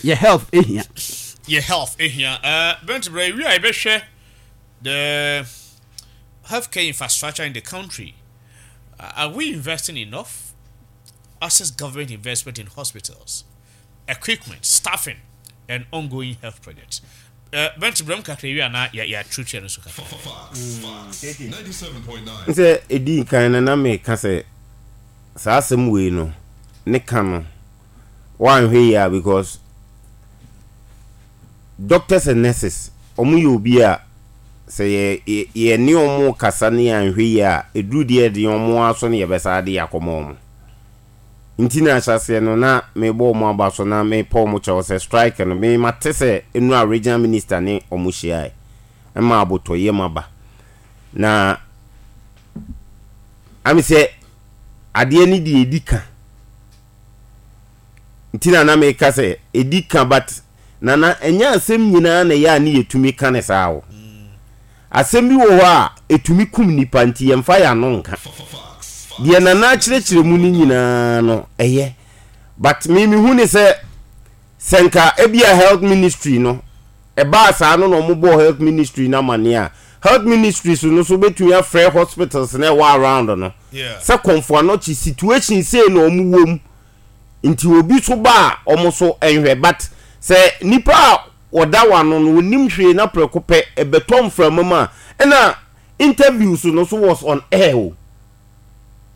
Yɛ health ehia. Yɛ health ehia. Uh, Bent brɛ wi a yɛbɛhwɛ the healthcare infrastructure in the country. Are we investing enough? Assess government investment in hospitals, equipment, staffing, and ongoing health projects. Uh, Bent brɛ mu kakra wi a na yɛatwitwa no so kakra. Sɛ ɛdi kan no na meka sɛ saa asɛm wei no ne ka no woanhwɛ yie a because doctors and nurses wɔn yɛ obi a sɛ yɛ yɛ yɛne wɔn kasa ne yɛanhwɛ yie a ɛduru deɛ ɛde wɔn aso ne yɛbɛsa de akɔma wɔn nti na ahyɛaseɛ no na mebɔ wɔn aba so na mepɔ wɔn kyɛw sɛ strike no me mate sɛ nnura regional minister ne wɔn hyiae ɛma abotɔyam aba na ame sɛ adeɛ no deɛ ɛdi ka nti na na meka sɛ ɛdi ka but nana ɛnyɛ asɛm nyinaa na ɛyɛ a ne yɛtumi ka ne saa o. Asɛm bi wɔ hɔ a ɛtumi kum nipa nti yɛmfa yɛn ano nka. Deɛ nana akyerɛkyerɛ mu no nyinaa no ɛyɛ but me mehu ne sɛ sɛ nka ebia health ministry no ɛbaa saa no na wɔn bɔɔ health ministry no amaneɛ a health ministry so no so bɛtumi afrɛ hospitals na ɛwɔ around no sɛ Komfo Anokye situation sei na wɔn wɔ mu nti obi so ba a wɔn so nhwɛ but sɛ nipa a wɔda wano no wɔnim hwee na prɛko pɛ ɛbɛtɔ mframa mu a ɛna interviews no so was on air o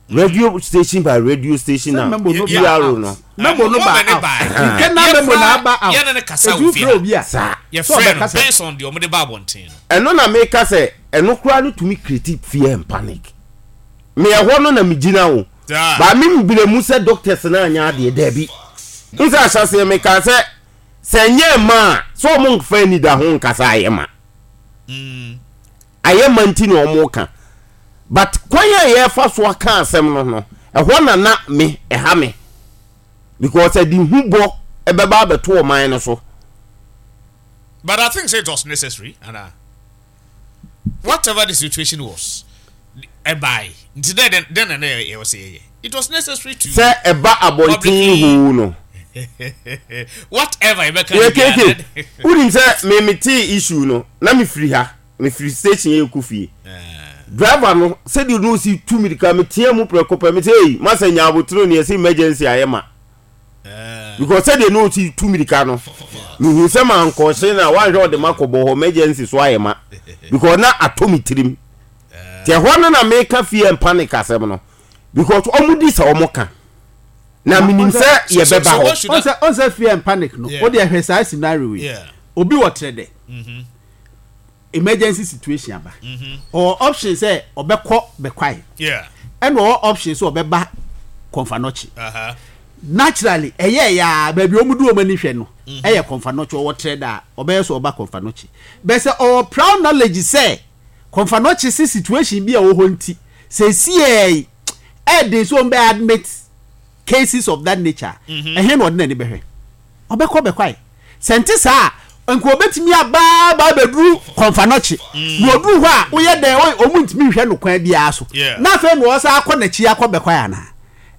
radio station by radio station na memo no PRO no memo no ba out internal memo na aba out yɛne ne kasa etu wɔ fie frɛ ha obi a saa sɛ yɛfrɛ no ɔbɛkasa based on deɛ ɔmode ba abɔnten no. Ɛno na meka sɛ ɛno koraa no tumi create fear and panic. Me ɛhɔ no na megyina o. Saa. Ba me mbrɛ mu sɛ doctors no anyɛ adeɛ daabi. N sɛ ahyɛseɛ mekaa sɛ sɛ ɛnyɛ mma a sɛ ɔmo nfa anidaho nka sɛ ayɛ ma. Ayɛ ma nti na ɔmo ka. But kwan a yɛfa so aka asɛm no no ɛhɔ na na me ɛha me. Because ɛde hu bɔ ɛbɛba abɛto ɔman no so. But I think say it was necessary ana whatever the situation was ɛbae nti dɛ dɛn dɛn na na yɛwɔ sɛ yɛyɛ it was necessary to Sɛ ɛba abɔnten publicly hoo no. whatever yɛbɛka Yɛ no biara KK, wonim sɛ me metee issue no na mefiri ha, mefiri station yɛ kɔ fie. Driver no sɛdeɛ na ɔsi tu mirika metea mu prɛko pɛ mesɛ ei masa nya abotire ne yɛsɛ emergency ayɛ ma. Because sɛdeɛ na ɔsi tu mirika no mehu sɛ mankɔhye no a woanhwɛ ɔde ma kɔbɔ hɔ emergency so ayɛ ma because na atɔ me tirim. Nti ɛhɔ no na meka fear and panic asɛm no because ɔmo di sɛ ɔmo ka na menim sɛ yɛbɛba hɔ. Ɔnsɛ ɔnsɛ fear and panic no o deɛ hwɛ saa scenario yi obi wɔ trɛ dɛ emergency situation aba ɔwɔ option sɛ ɔbɛkɔ bɛkwae ɛna ɔwɔ option sɛ ɔbɛba Komfo Anokye naturally ɛyɛ ya baabi wɔn de wɔn ani hwɛ no ɛyɛ Komfo Anokye ɔwɔ trɛ dɛ a ɔbɛyɛ sɛ ɔba Komfo Anokye bɛsɛ ɔwɔ proud knowledge sɛ Komfo Anokye se situation bi a ɛwɔ hɔ nti seesiei ɛyɛ den sɛ wɔn bɛ admit cases of that nature a, ɛhe na ɔde n'ani bɛhwɛ? Ɔbɛkɔ bɛkwae. Sɛ nte saa a, nka ɔbɛtumi aba aba abɛduru Komfo Anokye. Na ɔduru hɔ a, woyɛ dɛn? Wɔn ntumi nhwɛ no kwan biara so. Na afei na ɔsan akɔ n'akyi akɔ bɛkwae anaa?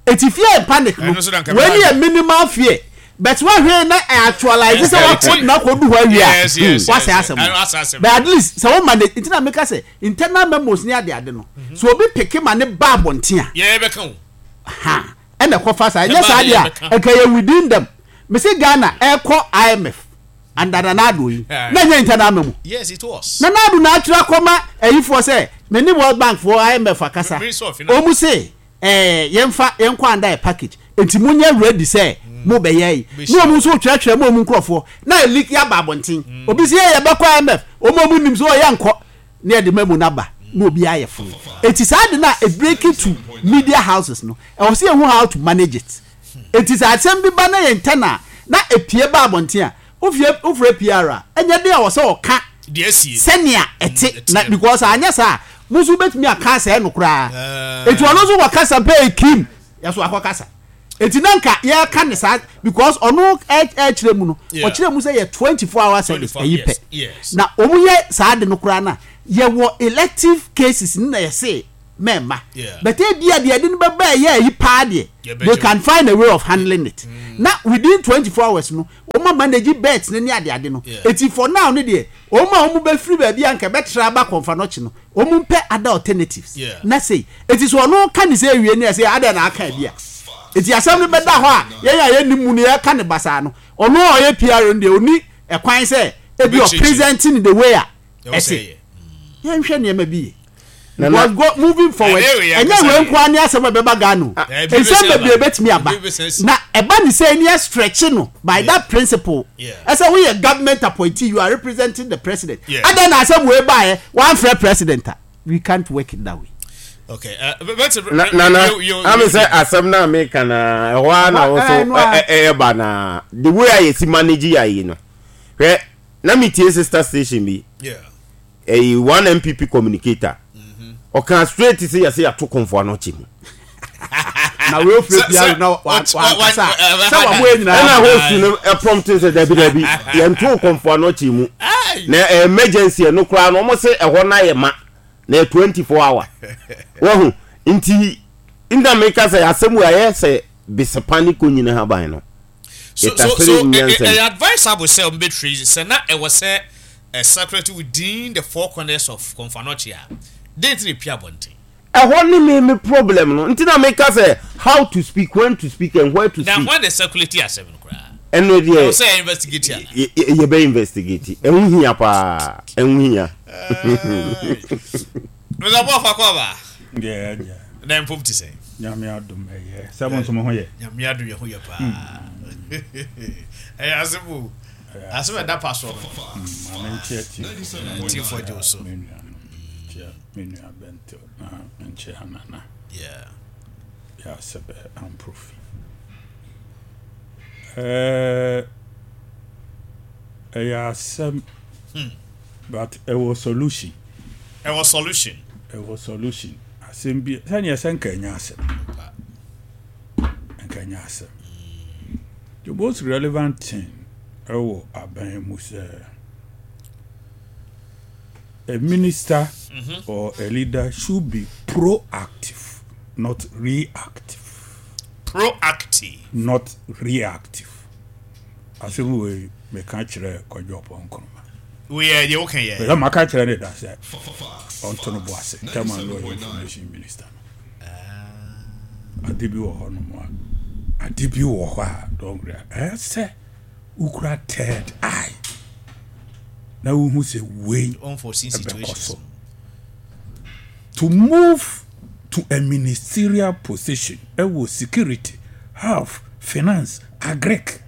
Eti fear and panic no, wei ne yɛ minimal fear. But woahwɛ na actualize sɛ wakɔ na akɔdu hɔ awie a, wasɛe asɛm no. But at least sɛ wo manage, nti na meka sɛ internal memos ne adeade no, sɛ obi peke ma ne ba abɔnten a, ha ɛna ɛkɔfa saa. Ɛnyɛ saa deɛ a, ɛnka yɛ within them. Mese Ghana ɛkɔ IMF under Nana Addo yi, na ɛnyɛ internal memo. Yes, it was. Nana Addo na atwerɛ akɔma ayifoɔ sɛ, me ne World Bank foɔ IMF akasa, wɔn se ɛɛ yɛnfa yɛnkɔ under a package nti mo nyɛ ready sɛ mo bɛyɛ yi ne wɔn nso kyerɛkyerɛ mo wɔn nkurɔfoɔ na eliki aba abɔnten obi sɛ yɛ yɛbɛkɔ IMF wɔn a wɔn nim sɛ ɔyɛ nkɔ ne yɛde memo no aba na obi ayɛ fo eti saa de na e break it to media houses no ɛwɔ sɛ yɛhu how to manage it eti sɛ asɛm bi ba na yɛn ntɛn a na epie ba abɔnten a Wofie wofrɛ PR a, ɛnyɛ den a wɔ sɛ ɔka sɛnea ɛte na because anyɛ saa a, mo nso wobɛtumi aka asɛe no koraa. Eti ɔno nso kɔkasa pɛ ekim yɛso akɔkasa. Eti na nka yɛka ne saa because ɔno ɛkyerɛ mu no, ɔkyerɛ mu sɛ yɛ 24 hour service ɛyi pɛ. Na wɔn yɛ saa de no koraa na yɛwɔ elective cases no na yɛse. mɛmma but ebia deɛ ɛde no bɛba ɛyɛ ayi paa deɛ they can find a way of handling it mm. na within 24 hours no wɔn ma manage beds ne ne adeade no eti for now ne deɛ wɔn a wɔn bɛfiri baabi a nka bɛtra aba Komfo Anokye no wɔn mpɛ other alternatives na sei eti so ɔno ka ne sɛ ewie ne ɛsɛ adɛ na aka bi a eti asɛm no bɛda hɔ a yɛn a yɛn nim mu no yɛka ne basaa no ɔno a ɔyɛ PR no deɛ oni ɛkwan sɛ ebi ɔpresenting the way a ɛte yɛnhwɛ nneɛma bi yie because go moving forward ɛnyɛ wei nko ara ne asɛm a ɛbɛba Ghana o nsɛm bebree bɛtumi aba na ɛba ne sɛ ɛni stretch no by that principle ɛsɛ woyɛ government appointee you are representing the president adan na asɛm wei baeɛ wɔamfrɛ president a we can't work it that way. Okay. Uh, but, na na ame sɛ asɛm no a meka na ɛhɔ ara na wo so ɛba na the way a yɛsi manage yɛ ayi no hwɛ na metie sister station bi ɛyi one NPP communicator ɔka straight sɛ yɛsɛ yɛato Komfo Anokye mu na wei ofure pia na wankasa sɛ wabɔ yɛ nyinaa ɛna host no prompt sɛ dabi dabi yɛnto Komfo Anokye mu na emergency ɛno koraa no wɔn sɛ ɛhɔ no ayɛ ma na yɛ 24 hour wahu nti nna meka sɛ asɛm wei ayɛ sɛ besepa ne konyini haban no So so so ɛyɛ advisable sɛ wɔn bɛ trace sɛ na ɛwɔ sɛ ɛ circulate within the four corners of Komfo Anokye a, dɛn nti na epue abɔnten? Ɛhɔ ne me me problem no nti na meka sɛ how to speak, when to speak and where to Na speak. hwan na circulate asɛm no koraa? Ɛno deɛ Ɛwɔ sɛ yɛ investigate ana? yɛbɛ investigate. Ɛho hia paa, ɛho hia. Mr. Boafo Akwaaba. Deɛ agya. Na mpom te sɛn? Nyame adom ɛyɛ. Sɛ mo nso mo ho yɛ? Nyame adom yɛ ho yɛ paa. Ɛyɛ asɛm o. Asɛm ɛda pa so no. Maame nkyia tiefo. Tiefo agye wo so. Me nua no. Nkyia me nua Bɛnto na nkyia Nana. Yeah. Yɛ asɛbɛ amprofi. Ɛɛ ɛyɛ asɛm. Hmm. But ɛwɔ solution. Ɛwɔ solution. Ɛwɔ solution. Asɛm bi sɛnea sɛ nka ɛnyɛ asɛm. Nka ɛnyɛ asɛm. The most relevant thing ɛwɔ aban mu sɛ a minister mm -hmm. or a leader should be proactive, not reactive. Proactive. Not reactive. Asɛm wei meka kyerɛɛ Kwadwo Ɔpɔn Nkrumah. Wei yɛ deɛ woka yɛ. Meka maka kyerɛ ne da sɛ ɔnto no bo ase ntɛm a na ɔyɛ information minister no. Ah. Ade bi wɔ hɔ nom a ade bi wɔ hɔ a don't worry ɛyɛ sɛ wokura third eye na wohu sɛ wei ɛbɛkɔ so. To move to a ministerial position ɛwɔ security, health, finance, Agric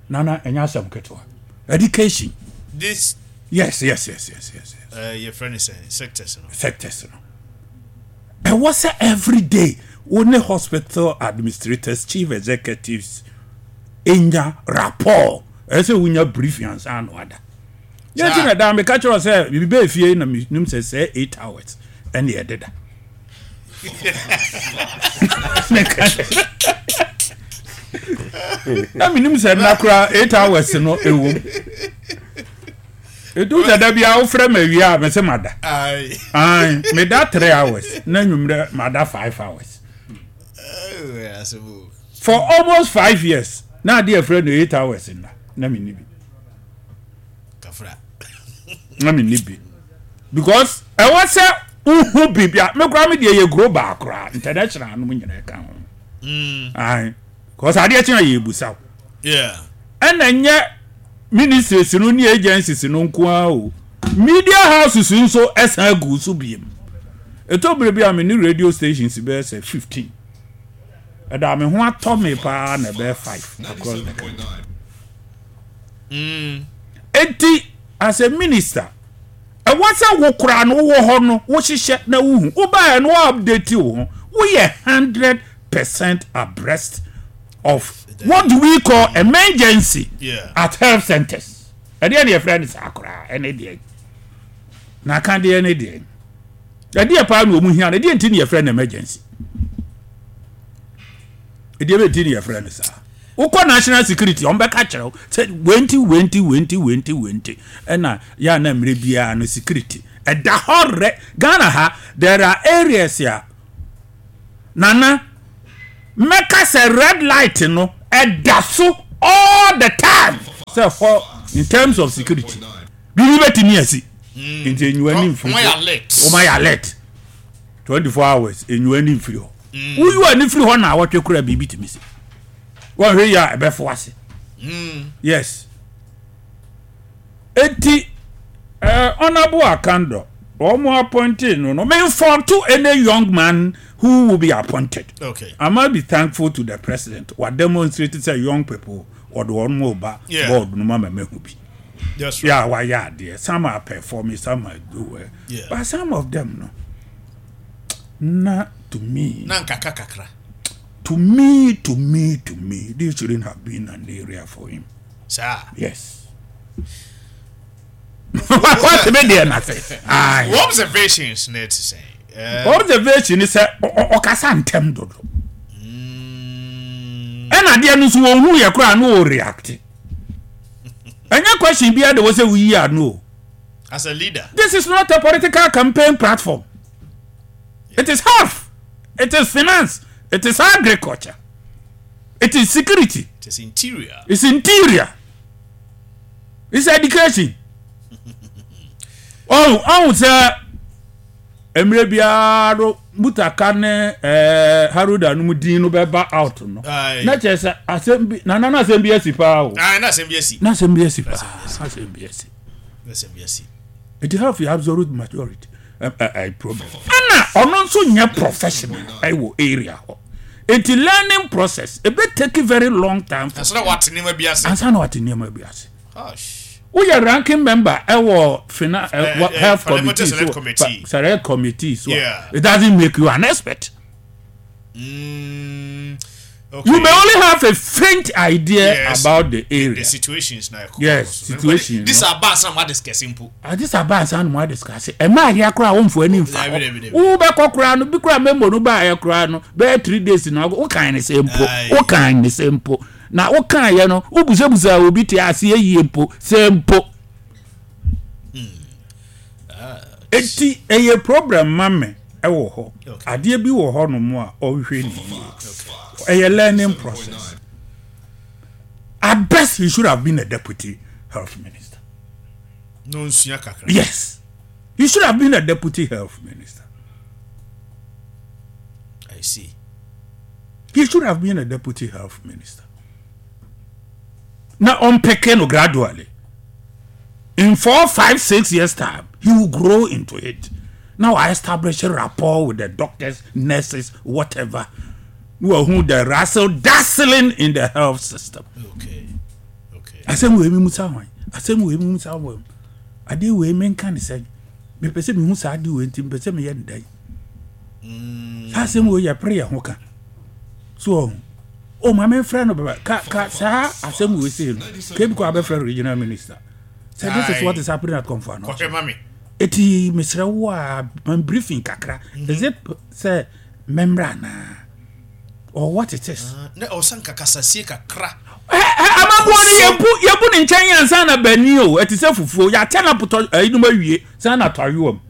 nana ɛnyɛ asɛm ketewa education. This. Yes yes yes yes yes. yes. Uh, your friend is saying sectors no. Sectors no. Ɛwɔ sɛ every day wo ne hospital administrators chief executives enya rapport ɛsɛ sɛ wonya briefing ansa na wada. Yɛn ti na daa meka kyerɛ sɛ biribi bɛɛ fie na menim sɛ sɛ 8 hours ɛne ɛdeda. Meka na menim sɛ nna koraa 8 hours no ɛwom. Ɛdu sɛ da bia wofrɛ ma awie a mese mada. Ae, meda 3 hours na nwummerɛ mada 5 hours. For almost 5 years na adeɛ ɛfrɛ no 8 hours nna na menni bi. Na menni bi. Because ɛwɔ sɛ wohu biribi a me koraa me deɛ yɛ global koraa international nom nyinaa ɛka ho. Ae, because adeɛ kye a yɛbusa wo. Ɛna nyɛ ministries no ne agencies no nko ara o. Media houses nso ɛsan gu so biem. Ɛtɔ bere bi a me ne radio stations bɛyɛ sɛ 15. Ɛda me ho atɔ me paa na ɛbɛyɛ 5 across the country. Enti as a minister, ɛwɔ sɛ wo koraa no wowɔ hɔ no wohyehyɛ na wohu. Wobaeɛ no wo update wo ho. Woyɛ 100% abreast of what do we call emergency yeah. at health centers. Ɛdeɛ ne yɛfrɛ no saa koraa ɛne deɛ. Na aka deɛ ne deɛ. Ɛdeɛ paa na wɔn hia no ɛdeɛ nti ne yɛfrɛ no emergency. Ɛdeɛ bɛ nti ne yɛfrɛ no saa. Wokɔ national security wɔn bɛka kyerɛ wo sɛ wei nti wei nti wei nti wei nti wei nti ɛna yɛ a na mmerɛ biara no security ɛda hɔ rɛ. Ghana ha there are areas a Nana mɛka sɛ red light no ɛda so all the time sɛ hɔ in terms of security biribi bɛtumi asi nti enyiwa ni mfiri so wɔn ayɛ alert 24 hours enyiwa ni mfiri hɔ woyi wɔ ani firi hɔ na awɔtwe kura biribi tumi si wɔn hwɛ yi a ɛbɛfo ase yes eti ɛɛ honourable Akandor wɔn appointed no no me fault to any young man who will be appointed okay I must be thankful to the president wa demonstrate sɛ young people wɔde wɔn mo ba board no ma ma mehu bi That's right. yeah wayɛ adeɛ some are performing some are do well yeah. but some of them no na to me na nkaka kakra to me to me to me this shouldn't have been an area for him saa yes wate me deɛ na sɛ observations na ɛte sɛ observation ni sɛ ɔkasa ntɛm dodo ɛna adeɛ no nso wɔn hu yɛ koraa no wɔ react ɛnyɛ question biara de wɔ sɛ woyi ano o as a leader this is not a political campaign platform it is health it is finance it is agriculture it is security it is interior it's interior it's education ɔn ɔn sɛ mmerɛ biara no mutaka ne ɛɛ haruda no mu din no bɛba out no na kyerɛ sɛ asɛm bi nana na asɛm bi asi paa o na asɛm bi asi na asɛm bi asi paa asɛm bi asi na asɛm bi asi it have the absolute majority uh, uh, uh, problem ɛna ɔno nso nyɛ professional ɛwɔ area hɔ nti learning process ebe take very long time for ansa na wate nneɛma bi ase ansa na wate nneɛma bi ase woyɛ ranking member ɛwɔ fina ɛ health committee so select committee so yeah. it doesn't make you an expert. Mm, okay. You may only have a faint idea yes. about the area. The situations now. Yes, situation. This are bad some discuss simple. This are bad some more discuss. Ẹ máa yẹ akora àwọn nfọ ẹni nfa hɔ. Wo bẹ kọ kora no bi kora memo no ba yẹ kora no bẹẹ 3 days na o kan ne se mpo. O kan ne se mpo. Na o kan yɛ no o busabusa obi te aseɛ yie mpo sɛ mpo. Eti ɛyɛ problem ma me ɛwɔ hɔ. Adeɛ bi wɔ hɔ nom a ɔnhwɛ ne yie. Ɛyɛ learning process. At best he should have been a deputy health minister. No nsua kakra. Yes. He should have been a deputy health minister. I see. He should have been a deputy health minister. Now, unpicking no gradually. In 4, 5, 6 years' time, he will grow into it. Now, I establish a rapport with the doctors, nurses, whatever, who are who the razzle dazzling in the health system. Asɛm wei mi musa hwan, asɛm wei mi musa hwan, adeɛ wei mi nka ne sɛn, mepɛ sɛ mehu saa adeɛ wei nti mepɛ sɛ meyɛ ne dɛn. Saa asɛm wei yɛ pere yɛ ho ka so ɔho o maame nfrɛ no bɛbɛ ka ka saa asɛm wei sei no kebi kɔ abɛfrɛ regional minister sɛ this is what is happening at Komfo Anokye. Kɔhwɛ ma me. Eti mesrɛ wo a man briefing kakra is it sɛ mɛmmerɛ anaa or what it is. Na ɔsan kakasasie kakra. Amaboɔ no yɛbu yɛbu ne nkyɛn ansa na bani o ɛte sɛ fufuo yɛakyɛ na potɔ ɛyinom awie san na tɔ ayowa mu.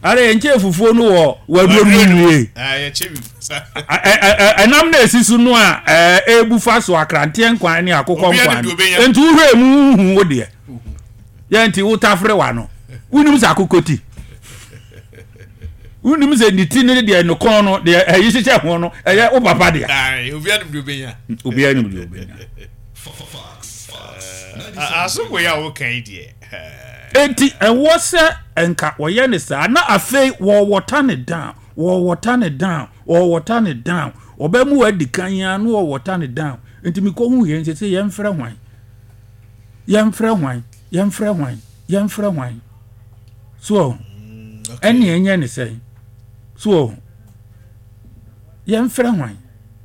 Ara yɛn nkyɛn fufuo no wɔ waduro no mu wie. Ɛnam na esi so no a ɛɛbu fa so akranteɛ nkwan ne akokɔ nkwan no nti wohwɛ mu huhu wo deɛ yɛn nti wotafere wa no wonim sɛ akokɔ ti wonim sɛ ne ti ne deɛ ne kɔn no deɛ ɛyi hyehyɛ ho no ɛyɛ wo papa deɛ. Obiara nim deɛ obenya. Obiara nim deɛ obenya. Asombo yi a woka yi deɛ. Enti ɛwɔ sɛ nka wɔyɛ ne saa na afei wɔwɔta ne down, wɔwɔta ne down, wɔwɔta ne down, ɔbɛmu wadi kan ya no wɔwɔta ne down. Nti mekɔhu yɛn sɛ sɛ yɛmfrɛ hwan, yɛmfrɛ hwan, yɛmfrɛ hwan, yɛmfrɛ hwan so ɛne ɛnyɛ ne sɛn so yɛmfrɛ hwan,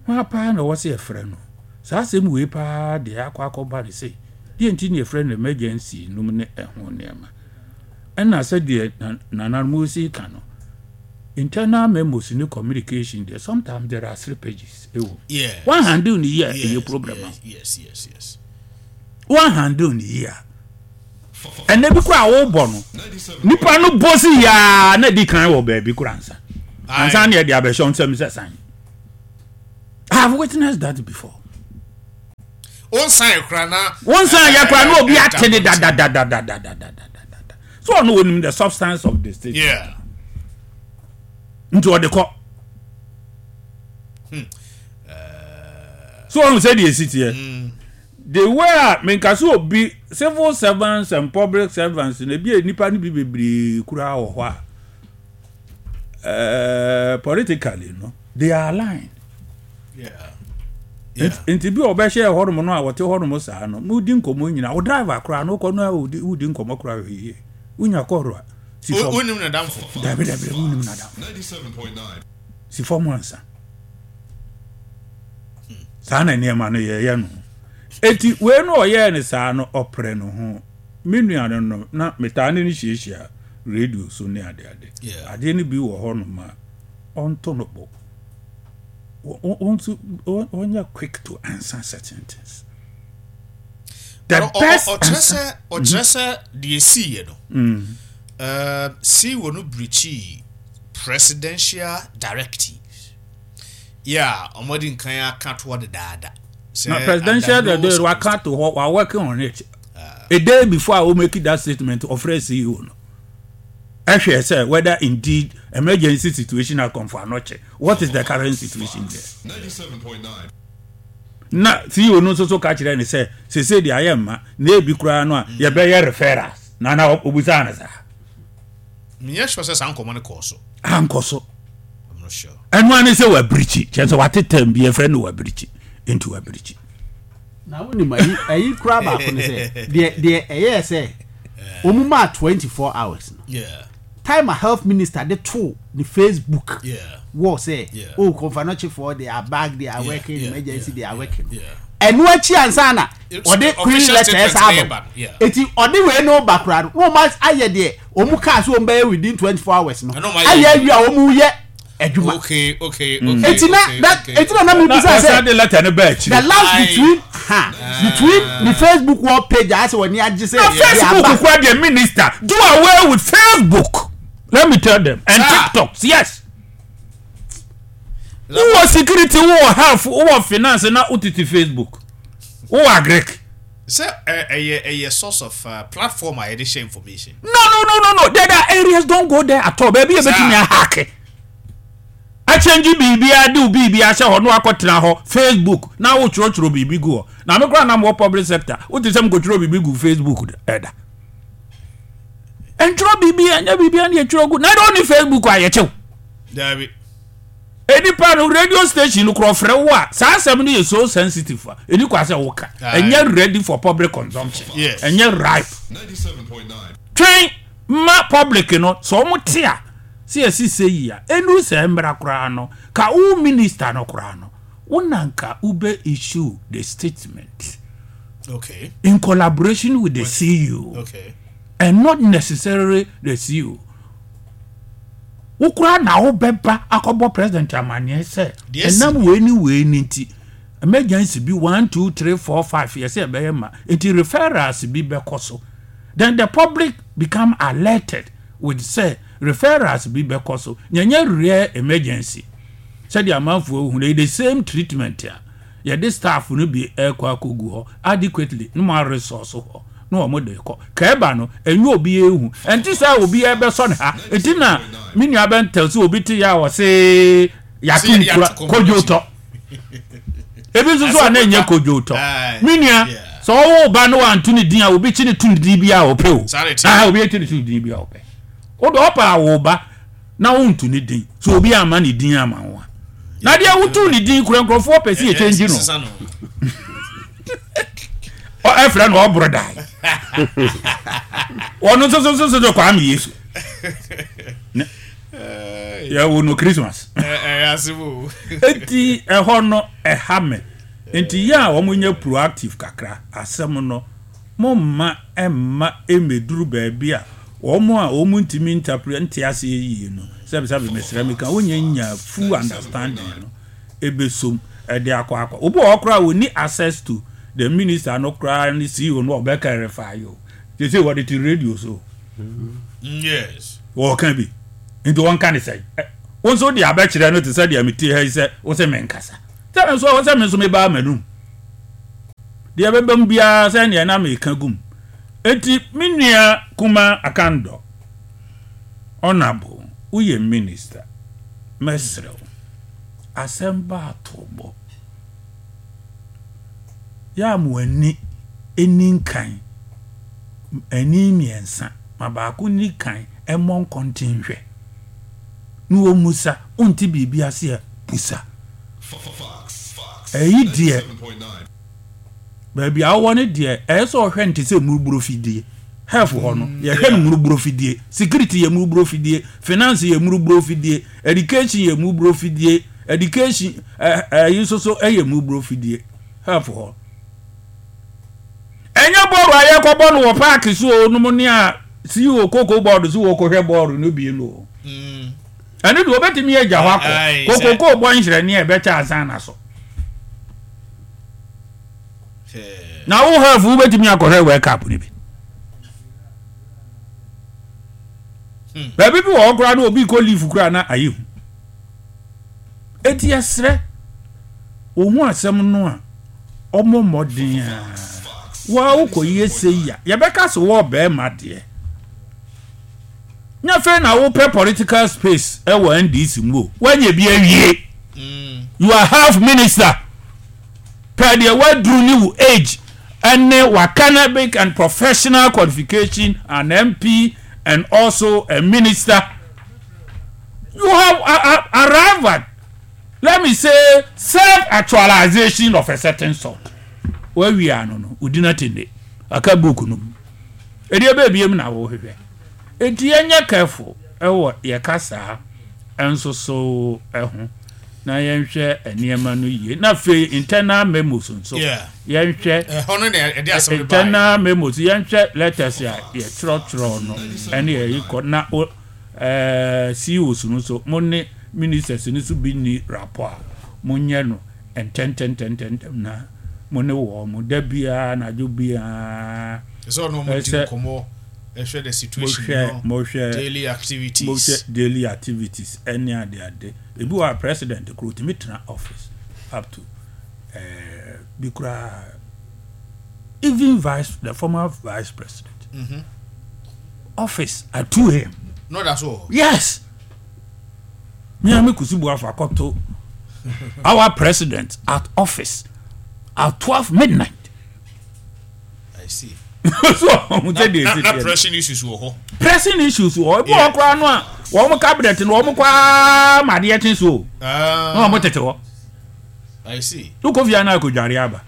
hwan paa na ɛwɔ sɛ yɛfrɛ no. Saa asɛm wei paa deɛ akɔ akɔba ne sɛ deɛ nti ne yɛfrɛ no emergency nom ne ɛho nneɛma. Ɛna sɛdeɛ nananom si ka no. Internal memos ne communication deɛ sometimes there are slippages ɛwɔ mu. Yes. Wan handle ne yie a ɛyɛ Yes, problem ma yes, yes, yes, yes. wo. Wan handle ne yie a ɛnɛ bi koraa a wobɔ no nipa no bɔ si yaa na di kan wɔ baabi koraa ansa ansa na yɛde abɛhyɛ nsɛm sɛ san. I have witnessed that before. Wonsan koraa na. Wonsan yɛ koraa na obi ate ne dadadadadadadadada. So ɔno onim the substance of the statement. Yeah. Nti ɔde kɔ. So ɔno sɛ deɛ esi teɛ. The way a menka sɛ obi civil servants and public servants na ebi a nipa no bi bebree koraa wɔ hɔ a uh, politically no they are aligned. Yeah. Yeah. Nti bi a ɔbɛhyɛ hɔnom no a wɔte hɔnom saa no modi nkɔmmɔ nyina wo driver koraa no wokɔ no a wodi nkɔmmɔ koraa hwɛ yie wonya kɔhoro a si fam. Wonim nadamfo. Dabi dabi wonim nadamfo. Si fam ansa. Saa na nneɛma no yɛyɛ no. Eti wei no ɔyɛɛ no saa no ɔprɛ no ho. Me nua no no na metaa ne no hyiahyia radio so ne adeade. Adeɛ no bi wɔ hɔnom a ɔnto no bo. Wɔn wɔnyɛ quick to answer certain things. The best ɔkyerɛ answer. sɛ ɔkyerɛ sɛ deɛ esiiɛ no si wɔ no birikyii presidential directives yɛ a wɔde nkan aka toɔ dedaada. Na presidential directive waka to hɔ wa working on it. A day before I will make that statement ɔfrɛ CEO no. Ɛhwɛ sɛ whether indeed emergency situation at Komfo Anokye what is the current situation there. Na CEO no nso so ka kyerɛ ne sɛ sese deɛ ayɛ mma na ebi koraa no a yɛbɛyɛ referrals na na obusaa no saa. Menyɛ sure sɛ saa nkɔmmɔ no kɔɔ so. Ankɔ so. I'm not sure. Ɛno ara ne sɛ wabirikyi kyerɛ sɛ wate term bi yɛfrɛ no wabirikyi nti wabirikyi. Na wonim ayi ayi koraa baako ne sɛ deɛ deɛ ɛyɛɛ sɛ wɔn maa 24 hours no. Yeah. Time a health minister de too ne Facebook Yeah. wɔ sɛ Yeah. oh Komfo-Anokyefoɔ they are back they are Yeah, working yeah, emergency yeah, they are yeah, working. yeah. Ɛno akyi ansa na ɔde Official query letter statement ɛsa na aba. ɛba no, yeah. Eti ɔde wei no ba koraa no na wɔn ayɛ deɛ wɔn kaa sɛ wɔn bɛyɛ within 24 hours no Ɛna wɔn ayɛ ayɛ awie a wɔn yɛ adwuma. Okay, okay, okay. Eti na okay, that okay. eti na na mi Na bisa ɔsan sɛ de letter no baa akyire. the last Aye. between ha between the Facebook wall page a asɛ wɔn ani agye sɛ Na yɛ Facebook aba. kura deɛ minister do away with Facebook let me tell them and Sir. TikTok yes. Wowɔ security wowɔ health wowɔ finance na wotete Facebook wowɔ agric. Sɛ ɛyɛ ɛyɛ source of uh, platform a yɛde share information. No no no no no there are areas don't go there at all baabi yɛ bɛtumi ahake akyɛngye biribiara de wo biribiara hyɛ hɔ na wakɔtena hɔ Facebook na wotwerɛtwerɛ biribi gu hɔ na me koraa na mewɔ public sector wote sɛ mekɔtwerɛ biribi gu Facebook ɛda ɛntwerɛ biribi ɛnyɛ biribiara ne yɛtwerɛ gu na ɛdɛ ɔne Facebook a yɛkyɛw Dabi. Nipa no radio station no korɔ frɛ wo a saa asɛm no yɛ so sensitive a ɛni kwa sɛ woka ɛnyɛ ready for public consumption ɛnyɛ ripe twɛn ma public no sɛ wɔn te a sɛ yɛsi sɛ yi a ɛnu sɛ mmra koraa no ka wo minister no koraa no wo na nka wobɛ issue the statement okay. in collaboration with the CEO okay. and not necessarily the CEO Wo koraa na wobɛba akɔbɔ president amaneɛ sɛ ɛnam wei ne wei ne nti emergency bi 1 2 3 4 5 yɛsɛ ɛbɛyɛ ma nti referrals bi bɛkɔ so then the public become alerted with sɛ referrals bi bɛkɔ so nyɛnyɛ rare emergency sɛdeɛ amanfoɔ hu no the same treatment a Yɛde staff no bi rekɔ akɔgu hɔ adequately na wɔn resource hɔ na wɔn de rekɔ. Ka ɛba no, ɛnyɛ obiara ehu. Ɛnte sɛ obiara bɛsɔ ne ha. Nti na me nua bɛntɛl sɛ obi te yɛ a ɔse yɛato nkura kodwo tɔ. Ebi nso so a na ɛnyɛ kodwo tɔ. Me nua, sɛ ɔwo ba no wanto ne din a obi kye ne to ne din bi a ɔpɛ o. Ah, obi kye ne to ne din bi a ɔpɛ. Wode ɔpɛ a wo ba na wonto ne din so obi amma ne din ama wo a na deɛ woto ne din kura nkurɔfoɔ pɛ sɛ yɛkyɛngyi no ɛfrɛ no ɔboro dae ɔno nso so so so Kwame Yesu yɛwo no Christmas enti ɛhɔ no ɛha me nti yɛ a wɔn nyɛ proactive kakra asɛm no Momma ɛmma emmeduru baabi a wɔn a wɔntumi ntapre nte aseɛ yie no Sɛbisɛbi mesrɛ meka wonnya nnya full understanding no ɛbɛsom ɛde akɔ akɔ. Obi wɔ hɔ koraa a ɔnni access to the minister no koraa ne CEO no ɔbɛ clarify o. Seesei wɔde te radio so o. Yes. Wɔka bi. Nti wɔnka ne sɛn? Wo nso wode abɛkyerɛ no te sɛ deɛ mete ha yi sɛ wo se menkasa. Sɛ me nso ɛwɔ sɛ me nso mebaa m'anum. Deɛ ɛbɛba mu biara sɛ neɛ na meka gu mu. Enti me nua kuma Akandɔ, Honourable, woyɛ minister, mɛsrɛ wo, asɛm ba a to bɔ. Yɛ a mo ani nni nkan, ani mmiɛnsa, ma baako nni kan mmɔ nkɔnten nhwɛ. Na wɔmmisa, wonte biribi ase a, bisa. Ɛyi deɛ, baabi a wowɔ no deɛ, ɛyɛ sɛ ɔhwɛ no te sɛ mmuruburo fidie. Health hɔ no, yɛhwɛ no mmuruburo fidie. Security yɛ mmuruburo fidie. Finance yɛ mmuruburo fidie. Education yɛ mmuruburo fidie. Education ɛyi nso so yɛ mmuruburo fidie. Health hɔ. Ɛnyɛ bɔɔl a yɛkɔbɔ no wɔ paaki so o nom ne a CEO koko bɔɔl so wɔkɔhwɛ bɔɔl no bi no o. Ɛno deɛ wɔbɛtumi agya hɔ akɔ. Kokoko bɔ nhyerɛnne a ɛbɛkyɛ ansa na so. Na wo health wobɛtumi akɔhwɛ World Cup no bi. Baabi bi wɔ hɔ koraa na obi kɔ leave koraa na ayɛ hu. Enti yɛsrɛ, wɔhu asɛm no a, wɔmmɔ mmɔden a. Wo a wokɔyɛ sei a, yɛbɛka sɛ wowɔ barima deɛ. Nyɛ afei na wopɛ political space wɔ NDC mu o, woanya bi awie. You are health minister. Pɛ deɛ woaduru ne wo age ne w'academic and professional qualification, an MP and also a minister. You have arrived at, let me say, self-actualization of a certain sort. Wawie ano no, wodi no atende. Aka book no mu. Ɛdeɛ bɛɛ biem na wohwehwɛ. Enti yɛnyɛ careful ɛwɔ yɛ kasaa nso so ho na yɛnhwɛ nneɛma no yie. Na afei internal memos nso yɛnhwɛ internal memos yɛnhwɛ letters a yɛtwerɛtwerɛ no ɛne yɛyi kɔ na ɛɛ CEOs no nso mo ne ministers no nso bi nni rapport a monyɛ no ntɛntɛntɛntɛntɛm na mo ne wɔn mo da biara anadwo biara Ɛsɛ ɔne wɔn di ɛsɛ nkɔmmɔ ɛhwɛ the situation mohwɛ no mohwɛ daily activities. mohwɛ daily activities ɛne ade ade ebi wɔ a president koro otumi tena office up to ɛɛ bi koraa even vice the former vice president mm -hmm. office at 2 am. No, that's all. Yes. Me and Kusi Buafa akɔto our president at office at 12 midnight. I see. so ɔmo sɛ deɛ esi Na pressing issues wɔ hɔ. Pressing issues wɔ hɔ. Ebi wɔ koraa no a wɔn cabinet no wɔn kɔ ara ma adeɛ kye so o. Ah. Na wɔn tete hɔ. I see. Wokɔ fie anaa akɔdware aba.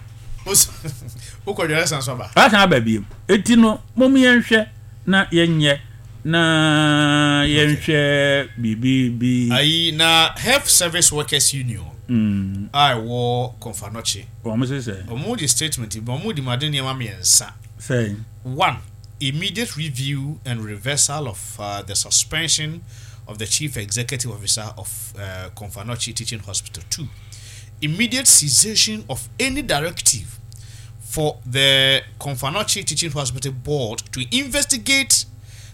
Wokɔdware san so aba. Asan aba biem. Eti no mom yɛnhwɛ na yɛnyɛ na yɛnhwɛ biribi bi. Ayi na Health Service Workers Union a ɛwɔ Komfo-Anokye. Wɔn se sɛ. Wɔn de statement bi wɔn de mu ade nneɛma mmiɛnsa. Sɛn. One, immediate review and reversal of uh, the suspension of the Chief Executive Officer of uh, Komfo-Anokye Teaching Hospital. 2. Immediate cessation of any directive for the Komfo Anokye Teaching Hospital Board to investigate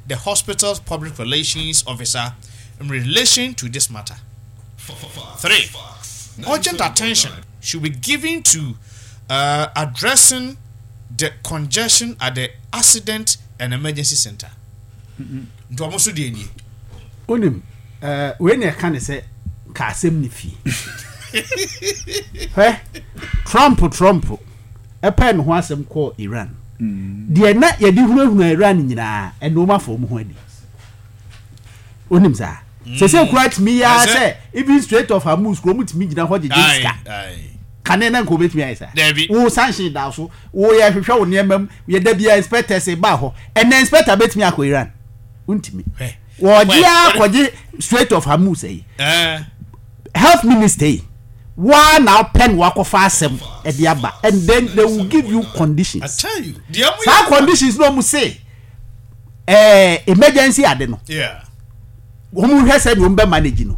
the hospital's public relations officer in relation to this matter. 3. Urgent attention should be given to uh, addressing the congestion at the accident and emergency center. Nti wɔn nso deɛ nie. Wonim, eh, wei na ɛka ne sɛ ka asɛm ne fie. Hwɛ, Trump Trump ɛpɛɛ ne ho asɛm kɔɔ Iran. Deɛ na yɛde hunahuna Iran nyinaa, ɛnna wɔn afa wɔn ho adi. Wonim saa? Sese kura tumi yɛ ara sɛ even Strait of Hormuz kura wɔn tumi gyina hɔ gyegye sika. Kane na nka wɔbɛtumi ayɛ saa. Wo sanction da so, wo yɛ hwehwɛ wo nneɛma mu, yɛ da biara inspectors ba hɔ. Ɛnna inspector bɛtumi akɔ Iran. Wontumi. Wɔgye ara kɔgye Strait of Hormuz yi. Health minister yi, waa na wopɛ na wakɔfa asɛm ɛde aba and then they will give you conditions. Saa conditions na wɔn se ɛɛ emergency ade no. Yeah. Wɔn hwɛ sɛ deɛ wɔn bɛ manage no.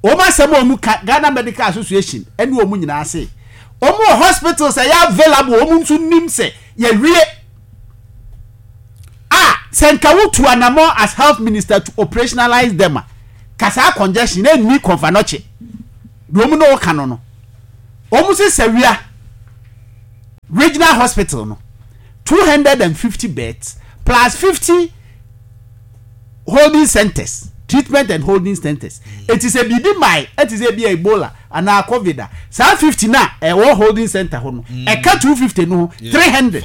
Wɔn asɛm a wɔn ka Ghana Medical Association ɛne wɔn nyinaa se wɔn wɔ hospitals ɛyɛ available wɔn nso nim sɛ yɛwie a sɛ nka wotu anamɔ as health minister to operationalize them a ka saa congestion ɛnni Komfo Anokye deɛ wɔn na wɔka no no wɔn se Sawia regional hospital no 250 beds plus 50 holding centers treatment and holding centers eti sɛ biribi mae ɛte sɛ ebi a ebola anaa covid a saa 50 na ɛwɔ holding center hɔ no ɛka 250 no ho 300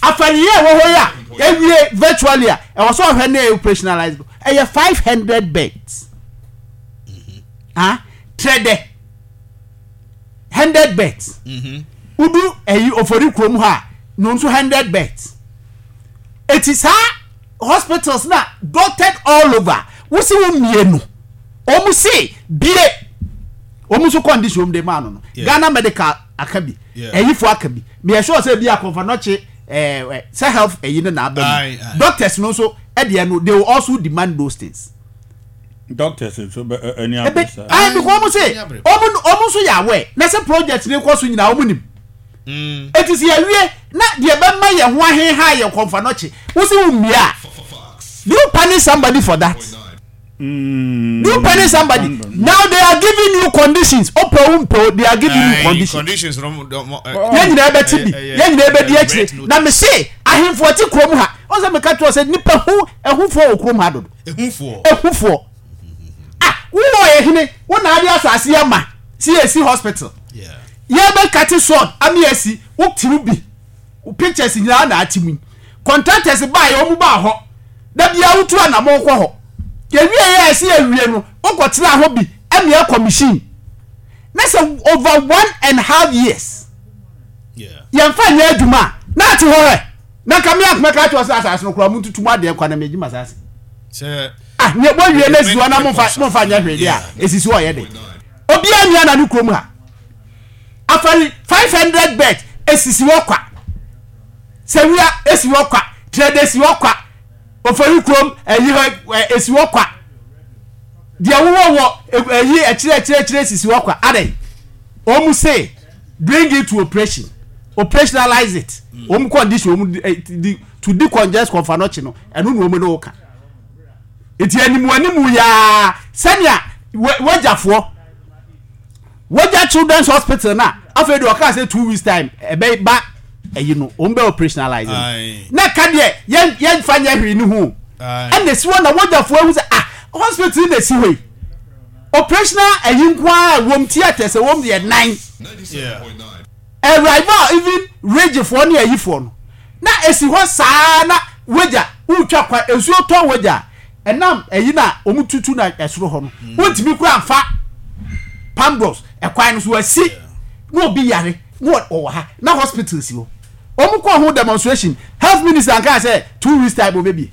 afɛreyɛ ɛwɔ hɔ yi a ewie virtually a ɛwɔ sɛ ɔhwɛ na operationalize no ɛyɛ 500 beds ah trɛdɛ 100 beds wodu ɛyi ofori kurom hɔ a no nso 100 beds eti saa hospitals na dotted all over wosi wo mmienu wɔn se bie wɔn nso condition wɔn de maa no no Ghana medical aka bi ɛyifo aka bi meyɛ sure sɛ ebi akɔnfa nɔkye ɛɛ sɛ health ɛyi no na aba mu doctors no nso ɛdeɛ no they will also demand those things. Doctors nso bɛ ani abere saa. Ayi because wɔn se wɔn wɔn nso yɛ aware na sɛ project ne kɔ so nyinaa wɔn nim. Eti sɛ yɛwie na deɛ bɛma yɛn ho aheha yɛ kɔnfa nɔkye wosi wo mmea a do you punish somebody for that? Do you punish somebody? Now they are giving you conditions. Ope wo mpe they are giving you conditions. Yɛn nyinaa bɛte bi, yɛn nyinaa bɛdi akyire. Na me se ahemfo ɛte kurom ha. Wɔn sɛ meka kyerɛ sɛ nipa hu ehufoɔ wɔ kurom ha dodo. Ehufoɔ. Ehufoɔ. Ah, wowɔ yɛ hene, wo na ade asase ama si esi hospital. Yɛbɛ kate sword ame asi wo tiri bi. Wo pictures nyinaa na ate mu yi. Contractors baa yɛ wɔn baa hɔ. Da biara wotu anamɔn kɔ hɔ. Yɛwie yɛ a ɛsɛ yɛwie no, wokɔ tena hɔ bi ɛme akɔ machine. Na sɛ over 1.5 years yɛmfa nyɛ adwuma a, na ate hɔ hɛ. Na nka me akoma ka kyerɛ sɛ asase no koraa montutu mu adeɛ nkwa na megye m'asase. Ah, ne wɔwie na esi hɔ na momfa momfa nyɛ hwee deɛ a, esisi hɔ yɛ de. Obiara nni ana ne kurom ha. Afari 500 bed esisi hɔ kwa. Sewia esi hɔ kwa. Trɛde esi hɔ kwa. Ofori kurom ɛyi hɔ esi hɔ kwa. Deɛ wowɔ wɔ ɛyi akyire akyire akyire esisi hɔ kwa. Adɛn? Wɔn se bring it to operation. Operationalize it. Wɔn condition wɔn di to decongest Komfo Anokye no ɛno na wɔn ne wo ka. Nti animu animu yaa sɛnea wagyafoɔ wagya children's hospital na afei deɛ ɔkaa sɛ 2 weeks time ɛbɛ ba ɛyi no wɔn bɛ operationalize no na ka deɛ yɛn yɛn fa nyɛ hwee ne ho ɛna esi hɔ na wagyafoɔ ehu sɛ ah hospital na esi hɔ yi operational ɛyi nko ara wɔm theatres wɔm deɛ 9 Arrival even ridgefoɔ ne ayifoɔ no na esi hɔ saa na wagya wotwa kwan nsuo tɔ wagya a ɛnam ayi na wɔn tutu na ɛsoro hɔ no wontumi kura nfa pambros ɛkwan no so asi na obi yare na ɔwɔ ha na hospital si hɔ wɔn kɔ ho demonstration health minister nka sɛ 2 weeks time obebie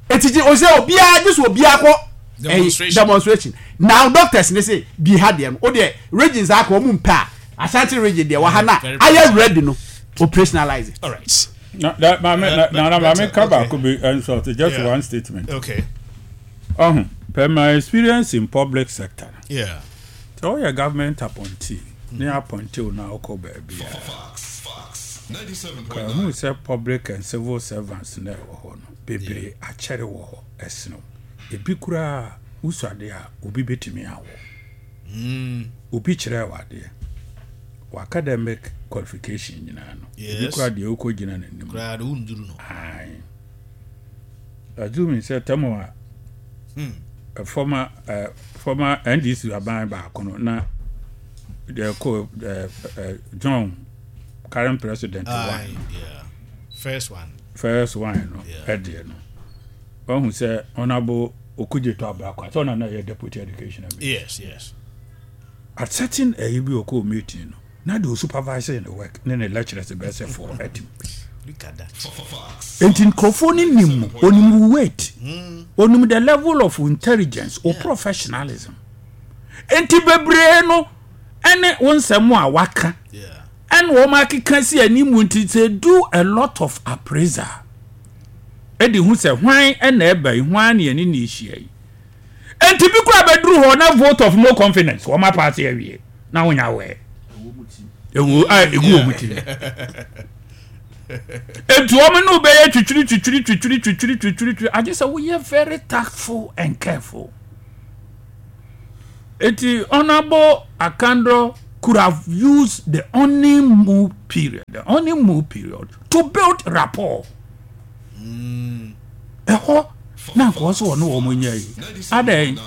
eti gye ose obiara gye so obiara kɔ ɛyi demonstration now doctors ne se bi ha deɛ no o deɛ regions aka wɔn mpɛ a. Ashanti region deɛ wɔ ha na ayɛ ready no operationalize it. All right. Na na maame na na na maame ka baako bi nso just one statement. Okay. Ɔho per my experience in public sector. Yeah. Sɛ ɔyɛ government appointee ne appointee wo na ɔkɔ baabi a. Ka hu sɛ public and civil servants na ɛwɔ hɔ no bebree akyɛre wɔ hɔ ɛsene wo. Ebi koraa wosuade a obi betumi awɔ. Obi kyerɛɛ wo adeɛ. W'academic qualification nyinaa no. Ebi koraa deɛ wokɔ gyina n'anim. Koraa de wonduru no. Ae. Assuming sɛ tɛmo a former former NDC aban baako no na deɛ kɔ John current president one. Yeah. First one. First one no ɛdeɛ no. Wahu sɛ Honourable Okudzeto Ablakwa sɛ ɔna na ɛyɛ deputy education minister. Yes, yes. At certain ɛyi bi ɔkɔɔ meeting no na deɛ ɔsupervise ne work ne ne lecturers bɛyɛ sɛ four ɛtim. Look at that. Nti nkurɔfoɔ no nim mo, onim wo weight, onim the level of intelligence, o professionalism. Nti bebree no ɛne wo nsɛm a waka ɛna wɔn akeka si anim nti they do a lot of appraisal. Ɛde hu sɛ hwan ɛna ɛba yi, hwan ne ɛne ne hyia yi. Enti bi koraa bɛduru hɔ na vote of no confidence wɔn apaase awie na wonya awɛ. Ewu a egu wɔn ti. Enti wɔn ne bɛyɛ twitwiri twitwiri twitwiri twitwiri twitwiri twitwiri agye sɛ woyɛ very tactful and careful. Eti Honourable Akandor could have used the honeymoon period, the honeymoon period to build rapport. Ɛhɔ na nka ɔsɛ ɔne wɔn nyɛ yi. Adɛn